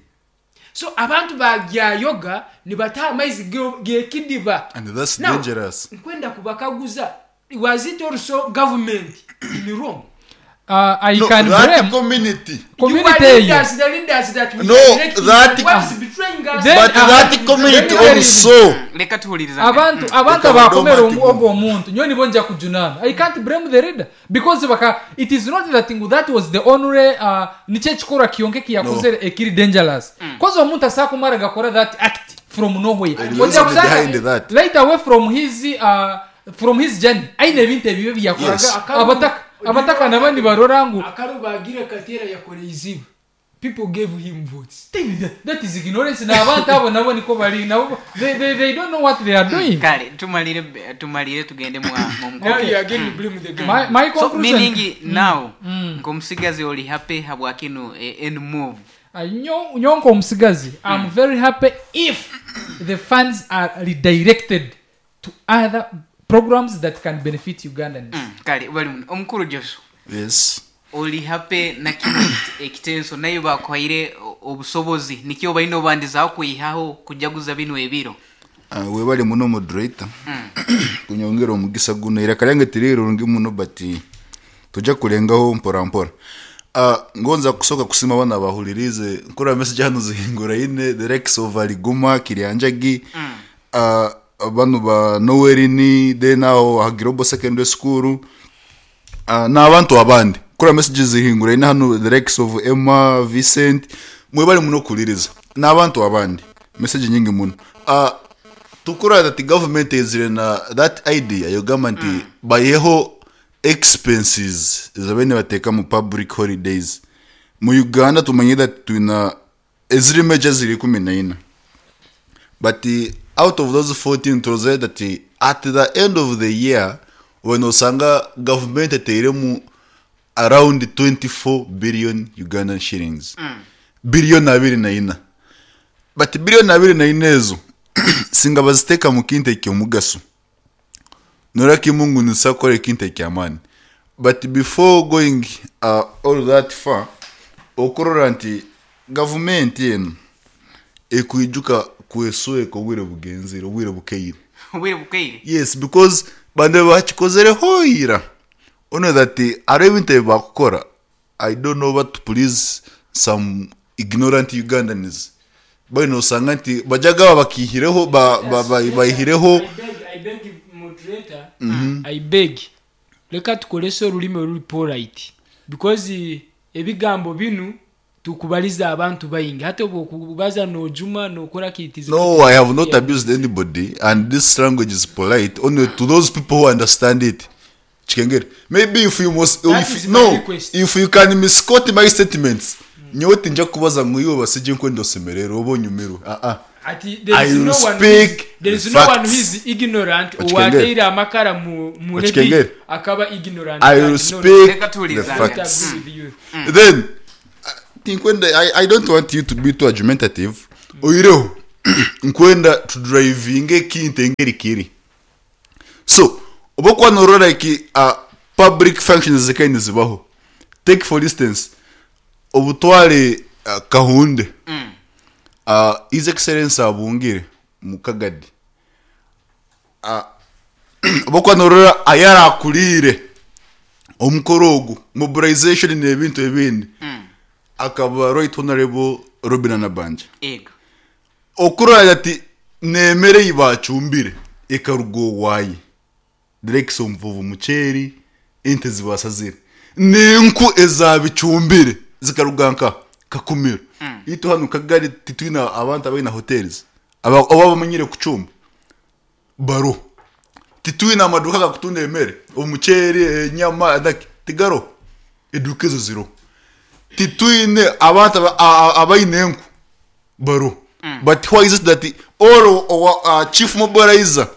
so abantu bagyayoga nibataha amaizi ge- gekidiba. And that's Now, dangerous. nkwenda kubakaguza, was it also government in wrong? Uh, I No, can that blame community. community You are eyo. leaders, the leaders that we No, are electing, that- what is betraying us? Then- But uh, that community then- also. Leka tuwulirizangane. Abantu abantu Leka abakomera badomati ogwo omuntu nyo nibo nja kujunana. I can't blame the leader because baka it is not that thing that was the only uh, nikyo ekikorwa kiyonke kiyakozere ekiri dangerous cause omuntu asobola kumara gakora that act from nowhere. There is Ojja reason kusanga behind that. right away from his uh, from his journey aine ebintu ebibi byakoraga. Yes. Abataka abataka nabo nibarora ngu Akaru bagire katera yakoreye izibu, people gave him votes. That is ignorance. N'abantu abo nabo niko bari nabo they, they, they don't know what they are doing. Kale tumalire tumalire tugende mwa mu Now mukuru. you again blame the government. my, my So conclusion meaning now nk'omusigazi oli happy habwakino eh, and move. Uh, nyo- nyonka omusigazi, I'm very happy if the funds are redirected to other programs that can benefit Ugandans. Mm, kale bali muno omukuru Joshua Yes. oli happy na kino ekite- ekitenso nayo bakuhaire o- obusobozi nikyo balina obandizaho kwihaho kujaguza bino ebiro. Uh, webale muno moderator kunyongera omugisa guno iraka lyange tirirungi muno but tujja kulengaho mpora mpora. Uh, ngonza kusoka kusima abana bahulirize nkura message hano zihingura ine the Rex of Aliguma Kiryanjagi mm. uh, bano ba Noelini then aho Hagirobo Secondary School uh, n'abantu abandi kura messages zihingura ine hano the Rex of Emma Vincent mwebale muno kuliriza n'abantu abandi message nyingi muno. uh, tukura that government izire na that idea yogamba nti mm. bayeho expenses zabene bateka mu public holidays mu Uganda. Tumanye that twina eziri major ziri kumi na ina, but uh, out of those fourteen turoze that uh, at the end of the year when osanga government eteiremu around twenty-four billion Ugandan shillings mm. billion abiri na ina, but billion abiri na ina ezo singa baziteeka mu kintu ekyomugaso norakimungu nisakora ekintu ekyamaani. But before going uh, all that far, okurora nti gavumenti eno ekwijuka kwesweka obwire bugenzire obwire bukeire. Obwire bukeire. Yes, because bande bakikozereho ira ono that hariho ebintu ebi bakukora, I don't know what to please some ignorant Ugandans bali nosanga nti bajyaga bakihireho ba- ba- ba- bayihireho. I beg, I beg moderator, I beg. Leka tukolese olulimi oluli polite because eh, ebigambo binu tukubaliza abantu bayingi hata bwokubaza nojuma nokora kitizi. No, I have not abused anybody, and this language is polite only to those people who understand it. Kikengere maybe if you must That if, is my no request. if you can misquote my statements, nyowe tinja kubaza ngu iwe basije nkwenda osemererwe oba onyumirwe. Ah ah. Ati there I is will no one who is, speak there is the no one who facts. is ignorant. Okikengere. Owateire amakara mu mu rebi Okikengere. akaba ignorant. I And will no, speak Reka the tuwuliriza. I don't facts. agree with you. Then uh, tinkwenda I, i don't want you to be too argumentative. Oireho nkwenda tudrivinge ekintu engeri kiri. So oba okuba norora like uh, public functions zikaine nizibaho, take for instance obutware uh, Kahunde, Mm. uh, His Excellence abungire mukagadi, uh, oba okuba norora ayarakurire omukoro ogu mobilization n'ebintu ebindi, Mm. akaba Right Honorable Robin Nabanja. Ego. Okurora ati nemere yibacumbire ekaruga owaye direkisa omuvuvu muceeri ente zibasazire n'enku ezabicumbire zikaruga nka Kakumiro. Mm. Itu hano Kagari titwina abantu abaina hotels aba oba bamanyire kucumba baro, titwina amaduka gakutunda emere, omuceeri, enyama naki tigaro, eduka ezo ziro. Titwine abantu aba- a- a- abaine enku baro. But why is it that all owa uh, chief mobilizer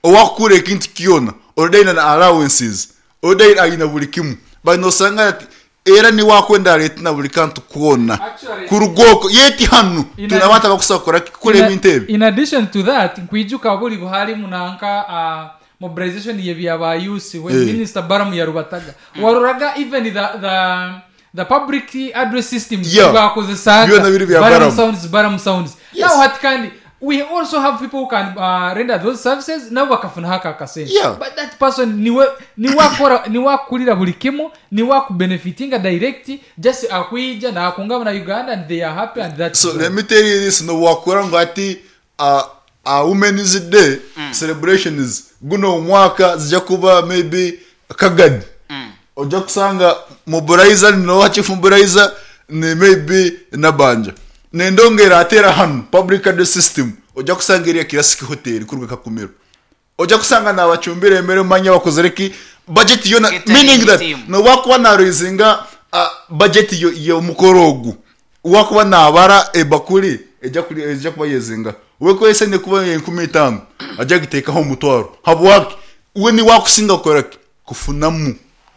owakukura ekintu kyona already na allowances, already aina buli kimu, but nosanga ati era ni wakwenda areta na buli kantu kwona Actually- kurugoko yeti hanu In tuna a- abantu abakusaba kukora kukora In a- ebintu ebi. In addition to that, nkwijuka buli buharimu nanka uh, mobilization yebyaba youth when Eh. Minister Balaam yarubataga, waroraga even the, the the public address system Yeah. bakozesaga Byona biri bya Balaam Balaam. sounds, Balaam sounds. Yes. Now hati kandi we also have people who can uh, render those services nabo bakafuna haka akasente. Yeah. But that person niwe niwakora niwakulira buli kimu, niwakubenefitinga direct, just akwija nakunga na Uganda and they are happy and that's So all. let me tell you this, no wakora ngo ati uh, uh, Women's Day celebrations guno omwaka zijja kuba maybe Kagadi, Mm. ojja kusanga mobilizer nowa chief mobilizer ni maybe Nabanja, nendongera atera hano public address system ojja kusanga eriya Classic Hotel kuruga Kakumiro, ojja kusanga nabacumbira emere manya bakoze ki budget yona, Catering meaning that team. no wakuba naraisinga uh, budget yo y'omukoro ogu, wakuba nabara ebakuli ejja kuri ejja kuba yezinga wekwese ne kuba enkumi itaano ajja giteekaho omutwaro habwaki we ni wakusinga kukora ki kufunamu.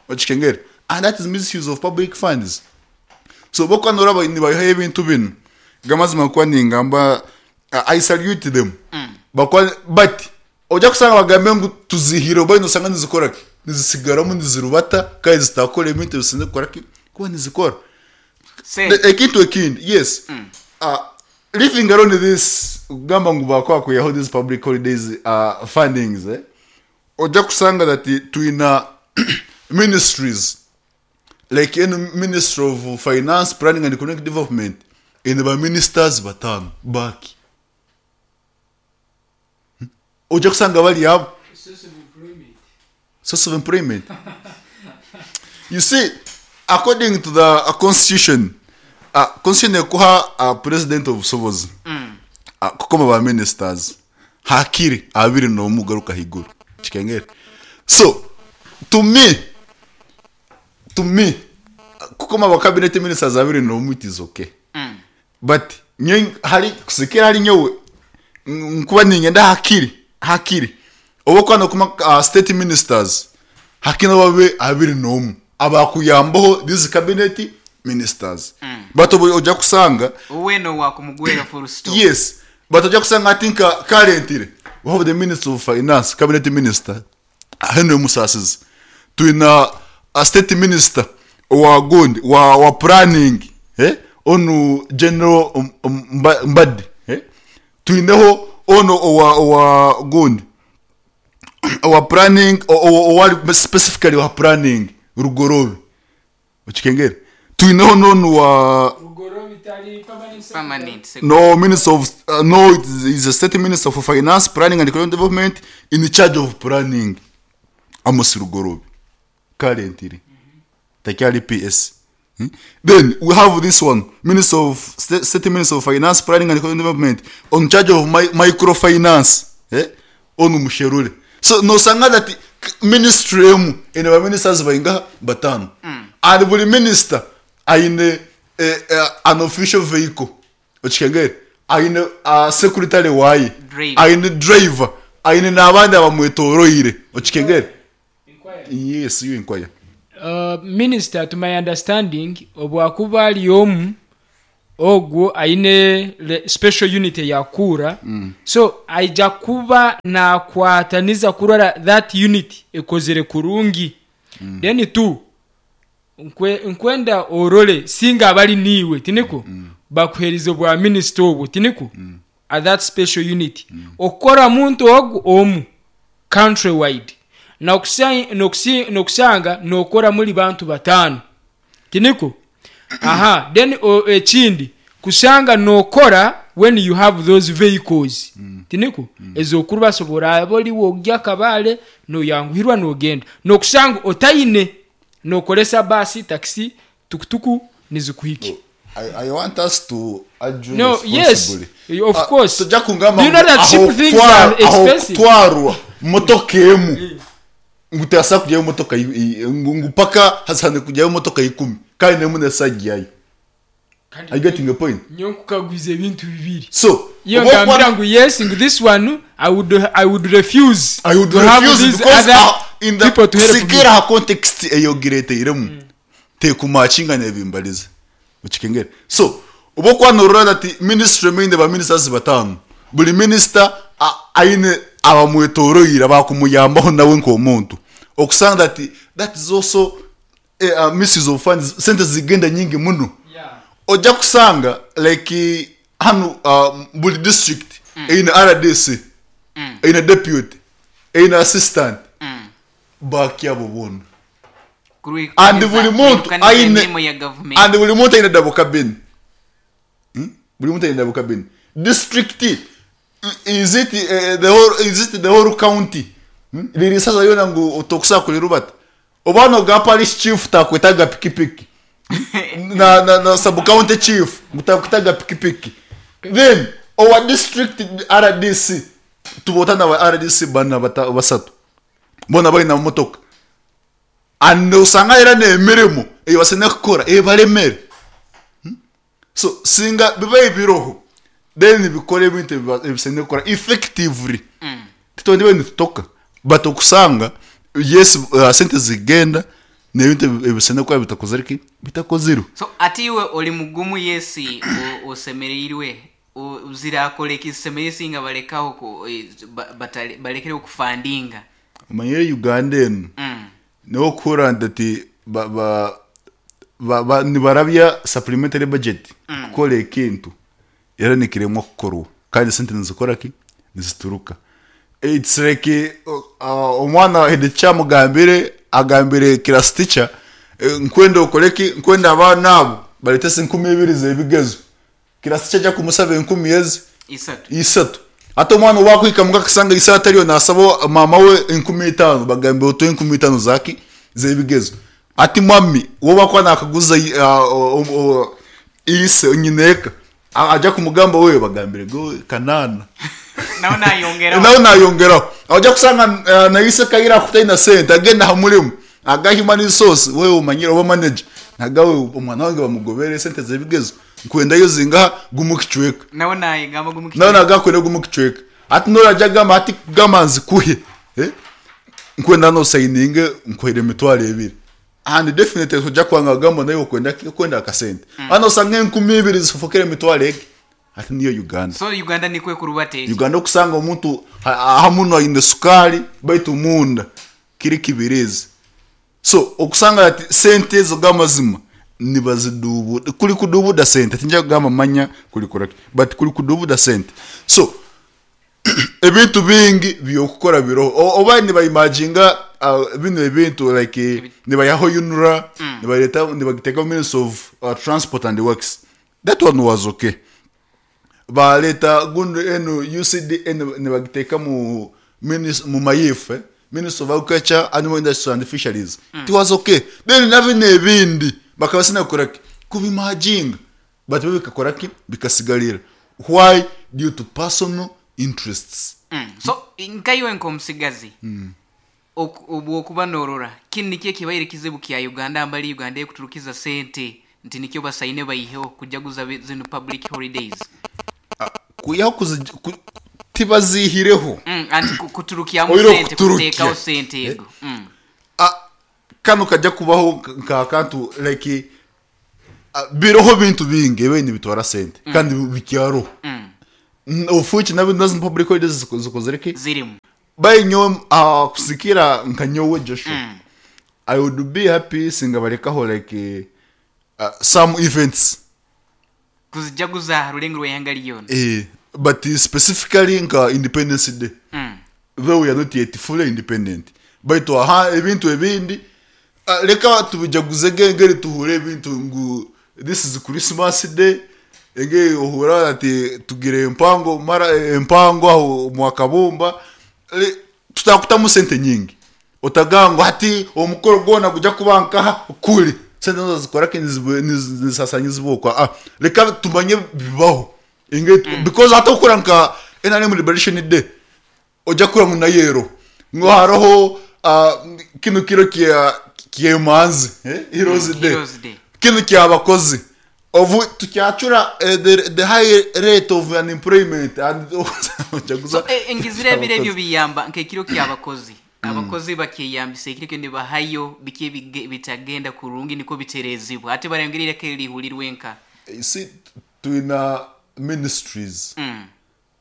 Okikengere? And that is misuse of public funds. So bokuba noraba nibayihayo ebintu binu gamazima kuba ningamba uh, I salute them. Bakwa but ojja kusanga bagambe ngu tuzihire oba nosanga nizikora ki nizisigaramu nizirubata kandi zitakora ebintu ebisinze kukora ki kuba nizikora. Se- The- ekintu ekindi, yes, uh, living alone this kugamba ngu bakwakuyaho these public holidays uh, fundings, eh? Ojja kusanga that twina ministries like in Ministry of Finance, Planning and Economic Development ine ba ministers batano baki. Hmm? Ojja kusanga bali abo Source of employment. Source of employment. You see, according to the uh, constitution, uh, constitution ekuha uh, president of sobozi Mm. uh, kukoma ba ministers hakiri abiri n'omu garuka higuru. Kikengere? So to me to me uh, kukoma ba cabinet ministers abiri n'omu, it is okay. Mm. But nyo hari kusikira hari nyowe nkuba ningenda hakiri hakiri oba kwano kuma uh, state ministers hakina babe abiri n'omu abakuyambaho these cabinet ministers Mm. but obu ojja kusanga Oweno wakumugwera full stop. Yes, but ojja kusanga I think uh, currently we have the Minister of Finance, cabinet minister Henry Musasizi, twina a state minister wa gundi wa, wa planning, eh? Onu General um, um, Mba- Mbadi, eh? Twineho ono owa, owa gundi owa planning o- o- owa specifically wa planning Rugorobe. Okikengere? Twineho nono wa Rugoro bitari permanent secretary. Permanent secretary. No minister of uh, no, it is is a state minister for Finance, Planning and Economic Development in charge of planning, Amos Rugorobe, currently takyali P S. Hmm? Then we have this one minister of state, state minister of Finance, Planning and Economic Development on charge of mi microfinance, eh? Onu Musherure. So nosanga that ministry emu ine ba ministers baingaha batano, and buli minister aine eh, eh, an official vehicle, okikengere, aine uh, secretary waye, Driver. Aine driver, aine n'abandi abamwetoroire, okikengere. Yes, you inquire. Uh, minister, to my understanding, obwakuba ari omu ogwo aine le- special unit yakura mm. So aija kuba nakwataniza kurora that unit ekozere kurungi mm. Then two, nkwe, nkwenda orole singa abali niiwe tiniko mm. Bakuheriza obwa minister obwo tiniko mm. At that special unit mm. Okukora muntu ogwo omu country wide nokusanga nokora muri bantu batano tiniko. Aha, then o, ekindi kusanga nokora when you have those vehicles mm. Tiniko mm. Ezokuru basobora aboli wogya kabale noyanguhirwa nogenda nokusanga otayine nokolesa basi, taxi, tukutuku nizikuhiki. I, I want us to argue No, yes, responsibly. of Ah, course. tujja kungamba Do you know that aho cheap things kutwara- are aho expensive? kutwarwa motoka emu ngu teyasa kujyayo motoka yi- yi- ngu ngu paka hasane kujyayo motoka ikumi kandi nemu nesagiyayo. Are you getting the point? Nyo nkukagwiza ebintu bibiri. So Iyo oba ngambira okwana- ngu yes, ngu this one I would, I would refuse I would to have refuse these because other ah, in the people to help me. sikira ha context eyogireteiremu tekumakinga nebimbalize, ukikengere. So oba okwanorora that ministry meine ba ministers batano, buli minister a- aine abamwetoroire abakumuyambaho nawe nk'omuntu, okusanga that that is also eh, uh, misuse of funds, sente zigenda nyingi muno. Ojja kusanga like hano uh, buli district eine R D C, eine deputy, eine assistant, bakyabo bona. And buli muntu aine emirimu ya gavumenti. And buli muntu aine double cabin. Hmm? Buli muntu aine double cabin. District i- is it uh, the whole is it the whole county? Hmm? Lirisaza yona ngu otokusa kulirubata oba no parish chief takwetaga pikipiki na, na, na sub county chief mutakwetaga pikipiki, then our district R D C tubotana ba R D C bana bata, basatu bona balina motoka, and osanga era n'emirimu eyo basene kukora ebalemere. Hmm? So singa biba ebiroho, then bikora ebintu ebiba- ebisene kukora effectively, titondi bene tutoka, but okusanga yes, uh, sente zigenda n'ebintu ebi- ebisene kukora bitakozere ki bitakozirwe. So ate iwe oli mugumu yesi o- osemereirwe O- zirakora ekisemerire singa balekaho ku- eh, ba- batale- balekere okufandinga? Omanyire Uganda eno Mm. niho okuhurira ati ba, ba, ba, ba, nibarabya supplementary budget kukora ekintu era nikiremwa kukorwa kandi sente nizikora ki nizituruka. It's like uh, omwana head kyamugambire agambire class teacher, eh, nkwenda okore ki, nkwenda abaana abo baletese enkumi ibiri z'ebigezo. Class teacher ajja kumusaba enkumi ezi isatu. Isatu. Ate omwana owakwika mukakasanga isatu ariyo nasaba mama we enkumi itaano, bagambe otuhe enkumi itaano zaki z'ebigezo. Ati mami wo bakwa nakaguza uh, o- o- ise nyineka A- ajja kumugamba we bagambire go kanana. Nawe nayongeraho. Nawe nayongeraho, ajja kusanga uh, naise kaira kutaina sente agenda ha mulimu aga human resource, wewe umanyire oba manager nagawe omwana wange bamugobere sente z'ebigezo nkwendayo zingaha gumukicweka. Nawe nayegamba gumukicweka. Nawe nagakwenda gumukicweka, ati norajya gamba ati gamba nzikuhe, eh? Nkwenda no sayininge nkwere emitwaro ebiri, and definitely tujja kwanga gamba nayo kwenda kwenda akasente hano usanga enkumi ibiri zifukire emitwaro egi, ati niyo Uganda. So Uganda nikwe kurubateeki. Uganda okusanga omuntu hamuno aine sukali baitu munda kiri kibirizi. So okusanga ati sente ezo gamazima nibazidubuda, kuli kudubuda sente, tinja kugamba manya kuli correct, but kuli kudubuda sente. So ebintu bingi byokukora biroho. O- oba nibaimajinga uh, bino ebintu like eh, nibayaho U N R A, nibaleta nibagiteka Ministry of uh, Transport and Works. That one was okay. Baleta gundu eno U C D eno nibagiteka mu minis- mu mayifu, eh? Ministry of Agriculture, Animal Industry and Fisheries. It was okay. Then nabino ebindi bakaba sinakora ki kubimajinga, but bo bikakora ki bikasigarira. Why? Due to personal interests. Mm. So nkaiwe nk'omusigazi, oku- obwokuba norora kinu nikyo ekibaire kizibu kya Uganda, mbali Uganda ekuturukiza sente nti nikyo basaine baiheho kujaguza bi- zino public holidays? Kuyaho kuzi- ku- tibazihireho. Mm, anti ku- kuturukyamu Oire sente, okuturukya. kuteekaho sente ego mm. Ah, kano kajja kubaho nka kantu like ah, biroho bintu bingi ebindi bitwara sente kandi bikyaroho. Mm. Ofuki nabyo nazo public holidays ziko- zikozere ki Zirimu. Bayinyo uh, kusikira nka nyowe Joshua, Mm. I would be happy singa balekaho like uh, some events kuzijaguza rulengo rw'ihanga lyona. Eh, but specifically nka Independence Day, mm. though we are not yet fully independent, baitu aha ebintu ebindi uh, leka tubijaguze ngeri tuhure ebintu ngu this is Christmas Day, enge ohura ati tugire empango mara empango aho mwakabumba. Le- tutakutamu sente nyingi otagangwa hati omukoro gwona gujya kuba nkaha kuri sente nazo zikora ki nizisasanyizibwa. Ah, leka tumanye bibaho inge mm. because hata ukora nka N R M Liberation Day, ojya kura mu nayero ngo hariho uh, kino kiro kya kyemanzi, eh? Heroes Mm, Day. Heroes Day. Kino kyabakozi ovu tukyacura eh, the, the high rate of unemployment and So eh, engizire ebiro ebyo biyamba nk'ekiro ky'abakozi, abakozi bakeyambisa ekiro ekyo nibahayo biki ebige- bitagenda kurungi niko biterezibwa, ate barayongerereko erihulirwe nka You see, twina ministries. mm.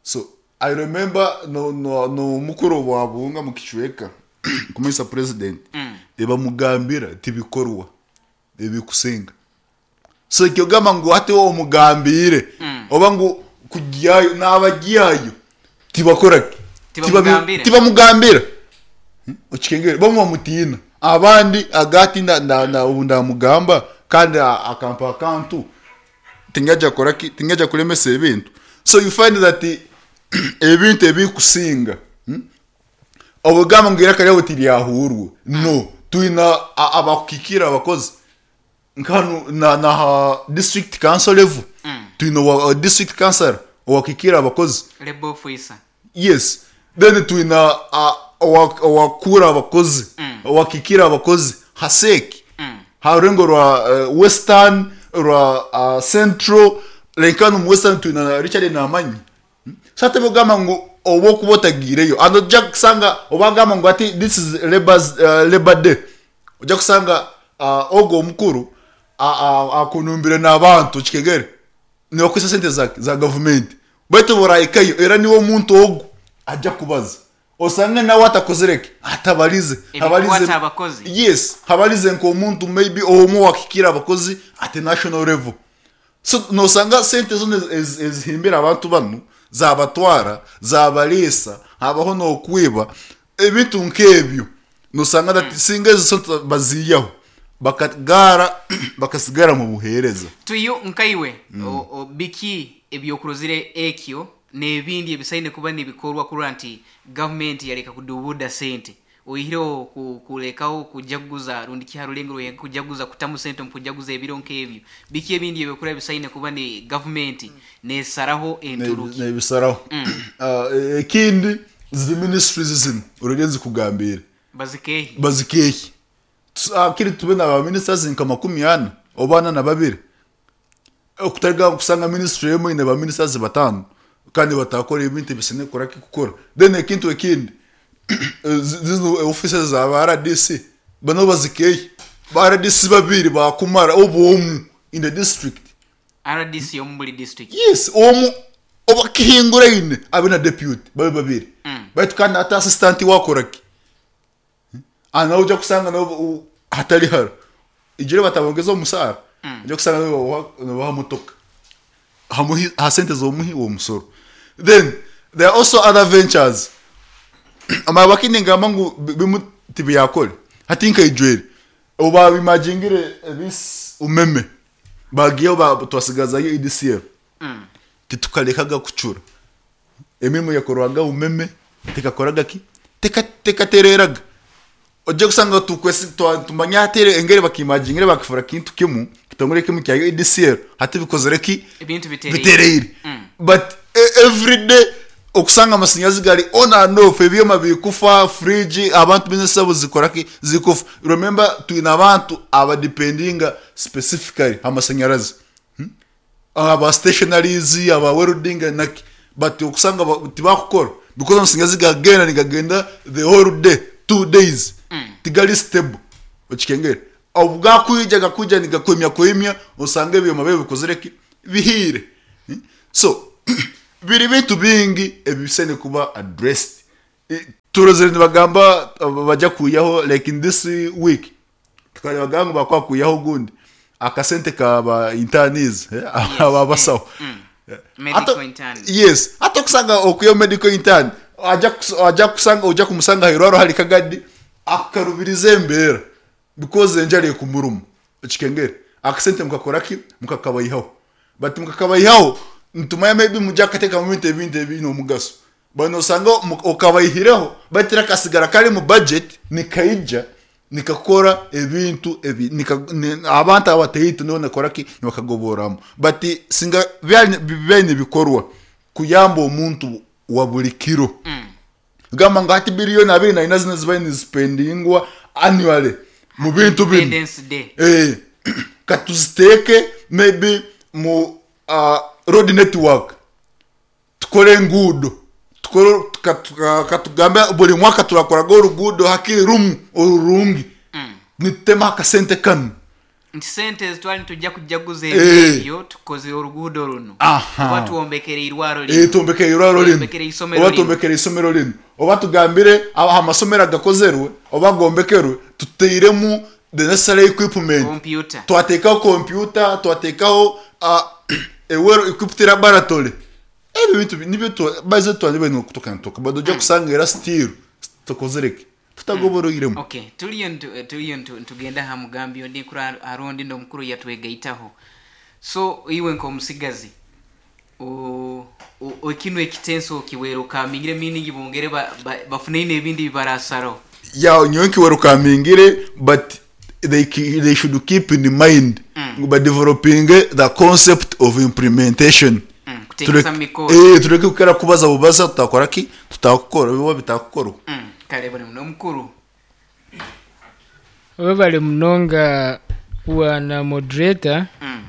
So I remember no no no mukuru wa bunga mu kicweka kumisa president Mm. ebamugambira tibikorwa ebikusenga. So ekyogamba ngu ate wowe omugambire Mm. oba ngu kujyayo n'abajyayo tibakora ki? Tibamugambira. Tibamugambira. Hmm? Okikengere bamwe bamutiina, abandi agati nda- nda- nda- ubu ndamugamba kandi a- akampa akantu tingajja kora ki, tingajja kulemesa ebintu. So you find that ebintu ebikusinga, hmm? Obugamba ngu iraka ryawe tiryahurwe no twina a- abakukikira abakozi nkanu na na district council level. Mm. Twina wa district council owakikira abakozi. Labor officer. Yes, then twina uh, owa- owakura abakozi, Mm. owakikira abakozi haseki Mm. harurengo rwa uh, western, rwa uh, central. Lenkano mu western twina Richard Namanyi. Hmm? So ate bogamba ngu oba okuba otagiireyo and ojja kusanga obagamba ngu ati this is labor's, uh, labor day, ojja kusanga uh, ogwo omukuru akunumbire n'abantu kikegere nibakwisa sente za, za gavumenti, baitu borahikayo era niwe omuntu ogwo ajja kubaza osange nawe atakozereke atabalize. Ebikwata abakozi. Yes, habalize nk'omuntu maybe omwe wakikira abakozi at national level. So nosanga sente zona ez- ezihimbira abantu bano zabatwara zabalisa, habaho n'okwiba ebintu nk'ebyo. Nosanga that singa ezo sente baziyaho bakagara bakasigara mu buheereza. Tuyo nkaiwe o- o, biki ebyokurozire ekyo n'ebindi ebisaine kuba nibikorwa kurora nti gavumenti yareka kudubuda sente, oihireho ku- kulekaho kujaguza rundi kiharulengo rwe kujaguza kutamu sente mu kujaguza ebiro nk'ebyo, biki ebindi ebyokura bisaine kuba ni gavumenti nesaraho enturuki? Nebisaraho. Ah, ekindi zi ministries zino urege nzikugambire Bazikehi. Bazikehi. Akiri tube na ba ministers nka makumi ana oba ana na babiri, okutariga kusanga ministry emwe ine ba ministers batano kandi batakora ebintu ebisine kora kukora. Then ekintu ekindi, zi- zino offices za ba R D C bano bazikehi, ba R D C babiri bakumara obu in the district. R D C omu buli district? Yes, omu oba kihinguraine abe na deputy babe babiri. Mm. Baitu kandi ate assistant wakoraki nawe ujya kusanga nabo u- hatari haro igire batabongeza omusaara, ujya kusanga nabo babaha motoka hamuhi ha sente zomuhi uwo musoro. Then there are also other ventures amabakini ngamba ngu bi- bimu tibiyakole hati nkaijwere oba bimagingire ebis umeme bagiyeho ba- twasigazayo E D C L. Mm. Titukalekaga kucura emirimo yakorwaga umeme tekakoraga ki teka tekatereraga. Ojja kusanga tukwesi twa- tumanya hatere engeri bakimagingire bakifura kintu kimu kitongole kimu kya E D C L hati bikozere ki Ebintu bitereire. Bitereire. Mm. But e- every day Okusanga amasanyazi gari on and off, ebyoma bikufa, fridge, abantu business zabo zikora ki, zikufa. Remember, twine abantu abadependinga specifically amasanyarazi, hmm? Aba stationaries, aba welding naki, but okusanga ba- tibakukora because amasanyazi gagenda nigagenda the whole day, two days, tigali stable. Okikengere obwakwija gakwija nigakwemya kwemya, osanga ebyoma bye bikozere ki, bihire. Hmm? So biri bintu bingi ebisene kuba addressed. I- turozere nibagamba uh, bajya kuyaho like in this week, tukareba ngo bakwakuyaho gundi akasente kaba internees, eh, aba basawo. Medical Ata- intern. Yes, hata kusanga okuyo medical intern ajya kus- ajya kusanga ujya kumusanga hirwaro hari kagadi akarubiriza embera because enjara ekumuruma. Ekikengere akasente mukakora ki, mukakabayihaho, but mukakabayihaho ntumaya maybe mujya akateka mu bintu ebindi ebine omugaso bano osanga mu- okabayihireho batira kasigara kari mu budget nikaija nikakora ebintu ebi nika, ni, abantu abateyito nibo nakora ki, nibakagoboramo. But singa byali byali bikorwa kuyamba omuntu wa buli kiro, gamba nga hati biliyoni abiri na ina zino zibaye nizipendingwa annually mu bintu bino. Independence Day. Eh, katuziteeke maybe mu uh, road network, tukore enguudo, tukore tuka- tuka- katugambe buli mwaka turakoraga oruguudo hakiri rumu orurungi, nitutema akasente kanu. Nti sente twali tujja kujaguza Eh. ebyo, tukoze oruguudo runo, Aha. oba tuwombekere irwaro Eh, lino, tuombekere irwaro lino, Tuombekere isomero oba lino. tuombekere isomero lino, oba tugambire aba- amasomero agakozerwe oba gombekerwe tuteiremu the necessary equipment, computer, twateekaho computer, twateekaho uh, a well equipped laboratory. Ebyo bintu bi- nibyo tu- baze twali bene okutukantuka bado ojja kusanga era still tukozereke tutagoboroiremu. Okay, tuliyo ntu- eh, tuliyo ntu- ntugenda ha mugambi ondi kura arondi nomukuru yatwegaitaho. So iwe nk'omusigazi o- o- ekinu ekitenso okiwera okamingire, meaning bongere ba- ba- bafuneine ebindi bibarasaro. Ya, nyowe nkiwerukamingire, but they, ki- they should keep in mind mm. by developing the concept of implementation. Mm, kuteekesa mu mikoro. Eh, tureke kukera kubaza bubaza tutakora ki, tutakukora biba bitakukorwa. Mm, kale buli muno omukuru. Webale munonga wana moderator, Mm.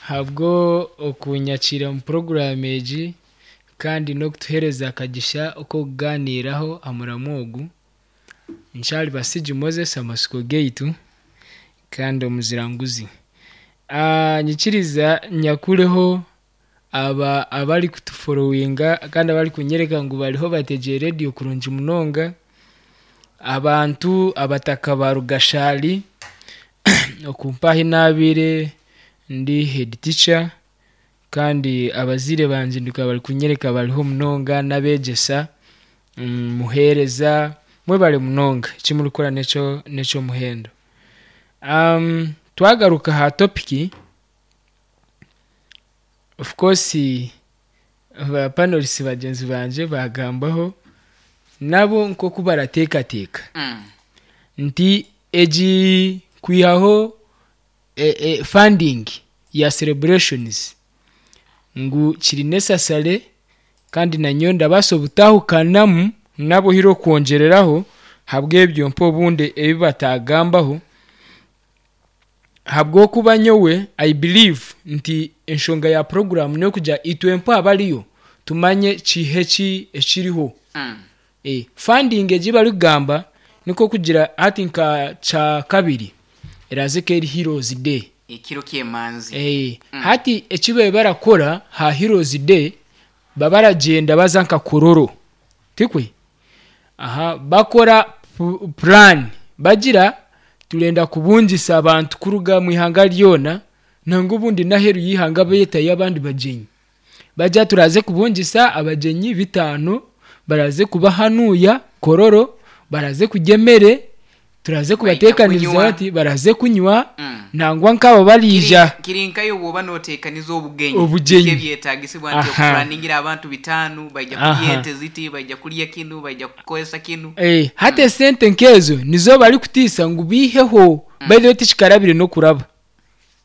habwo okunyakira mu porogaramu egi kandi n'okutuheereza akagisha ok'okugaaniiraho amuramu ogu. Nkyari Basigi Moses, amasiko gaitu kandi omuziranguzi. Ah, nyikiriza nyakureho aba abari kutuforowinga kandi abari kunyereka ngu bariho bategeye rediyo kurungi munonga, abantu abataka ba Rugashari okumpaho inabire ndi head teacher, kandi abazire banje ndikaba bari kunyereka bariho munonga n'abegyesa, mm, muhereza mwebale munonga ekimurikukora nekyo nekyomuhendo. um, twagaruka ha topiki, of course ba panelists bagyenzi banje bagambaho nabo nkoku barateekateeka Mm. nti egi kwihaho e, e, funding ya celebrations ngu kiri necessary, kandi nanyo ndabaasa obutahukanamu nabo hiro kwongereraho habw'ebyo mpa obundi ebi batagambaho, habw'okuba nyowe I believe nti enshonga ya program n'okugira itwe mpa abariyo tumanye kihe ki ekiriho. Mm. E, funding egi barikugamba niko kugira hati nka kya kabiri eraze ko eri Heroes Day, ekiro ky'emanzi. e, hati eki babe barakora ha Heroes Day, baba baragyenda baza nka Kororo tikwe aha bakora pu- plan, bagira turenda kubungisa abantu kuruga mu ihanga ryona nanga ubundi naheru y'ihanga betayo abandi bagyenyi, bajya turaze kubungisa abagyenyi bitano, baraze kubahanuya Kororo, baraze kugemere, turaze kubatekaniriza kunywa. bati baraze kunywa, Mm. nangwa nkabo barija. Kiri- kiri nkayo bwoba noteekaniza obugenyi. Obugenyi. Biki ebyetaagisibwa nti Aha. okupulaningira abantu bitaano baija Aha. kulya ente ziti, baija kulya kinu, baija kukozesa kinu. Eh, hati esente nkezo nizo bari kutiisa ngu biiheho mm. By the way tikikarabire n'okuraba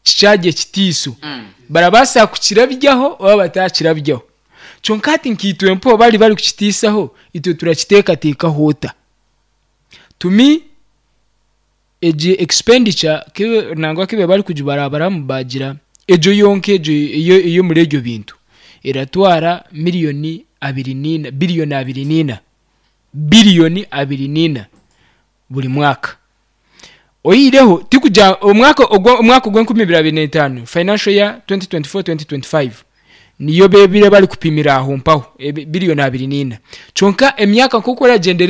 kikyagye kitiiso, Mm. barabaasa kukirabyaho oba batakirabyaho. Kyonka hati nkaitwe mpo bari bari kukitiisaho, itwe turakiteekateekaho ota? To me, egi expenditure kibe nangwa kibe bari kugibarabaramu, bagira egyo yonka egyo eyo ey'omuri egyo bintu eratwara miliyoni abiri niina, biliyoni abiri niina, biliyoni abiri niina buri mwaka. Oyihireho tikugira omwaka ogwo, omwaka ogw'enkumi ibiri abiri n'etaano, financial year twenty twenty-four twenty twenty-five, niyo bebire bari kupimira aho mpaho biliyoni abiri niina. Kyonka emyaka nk'oku eragyendera.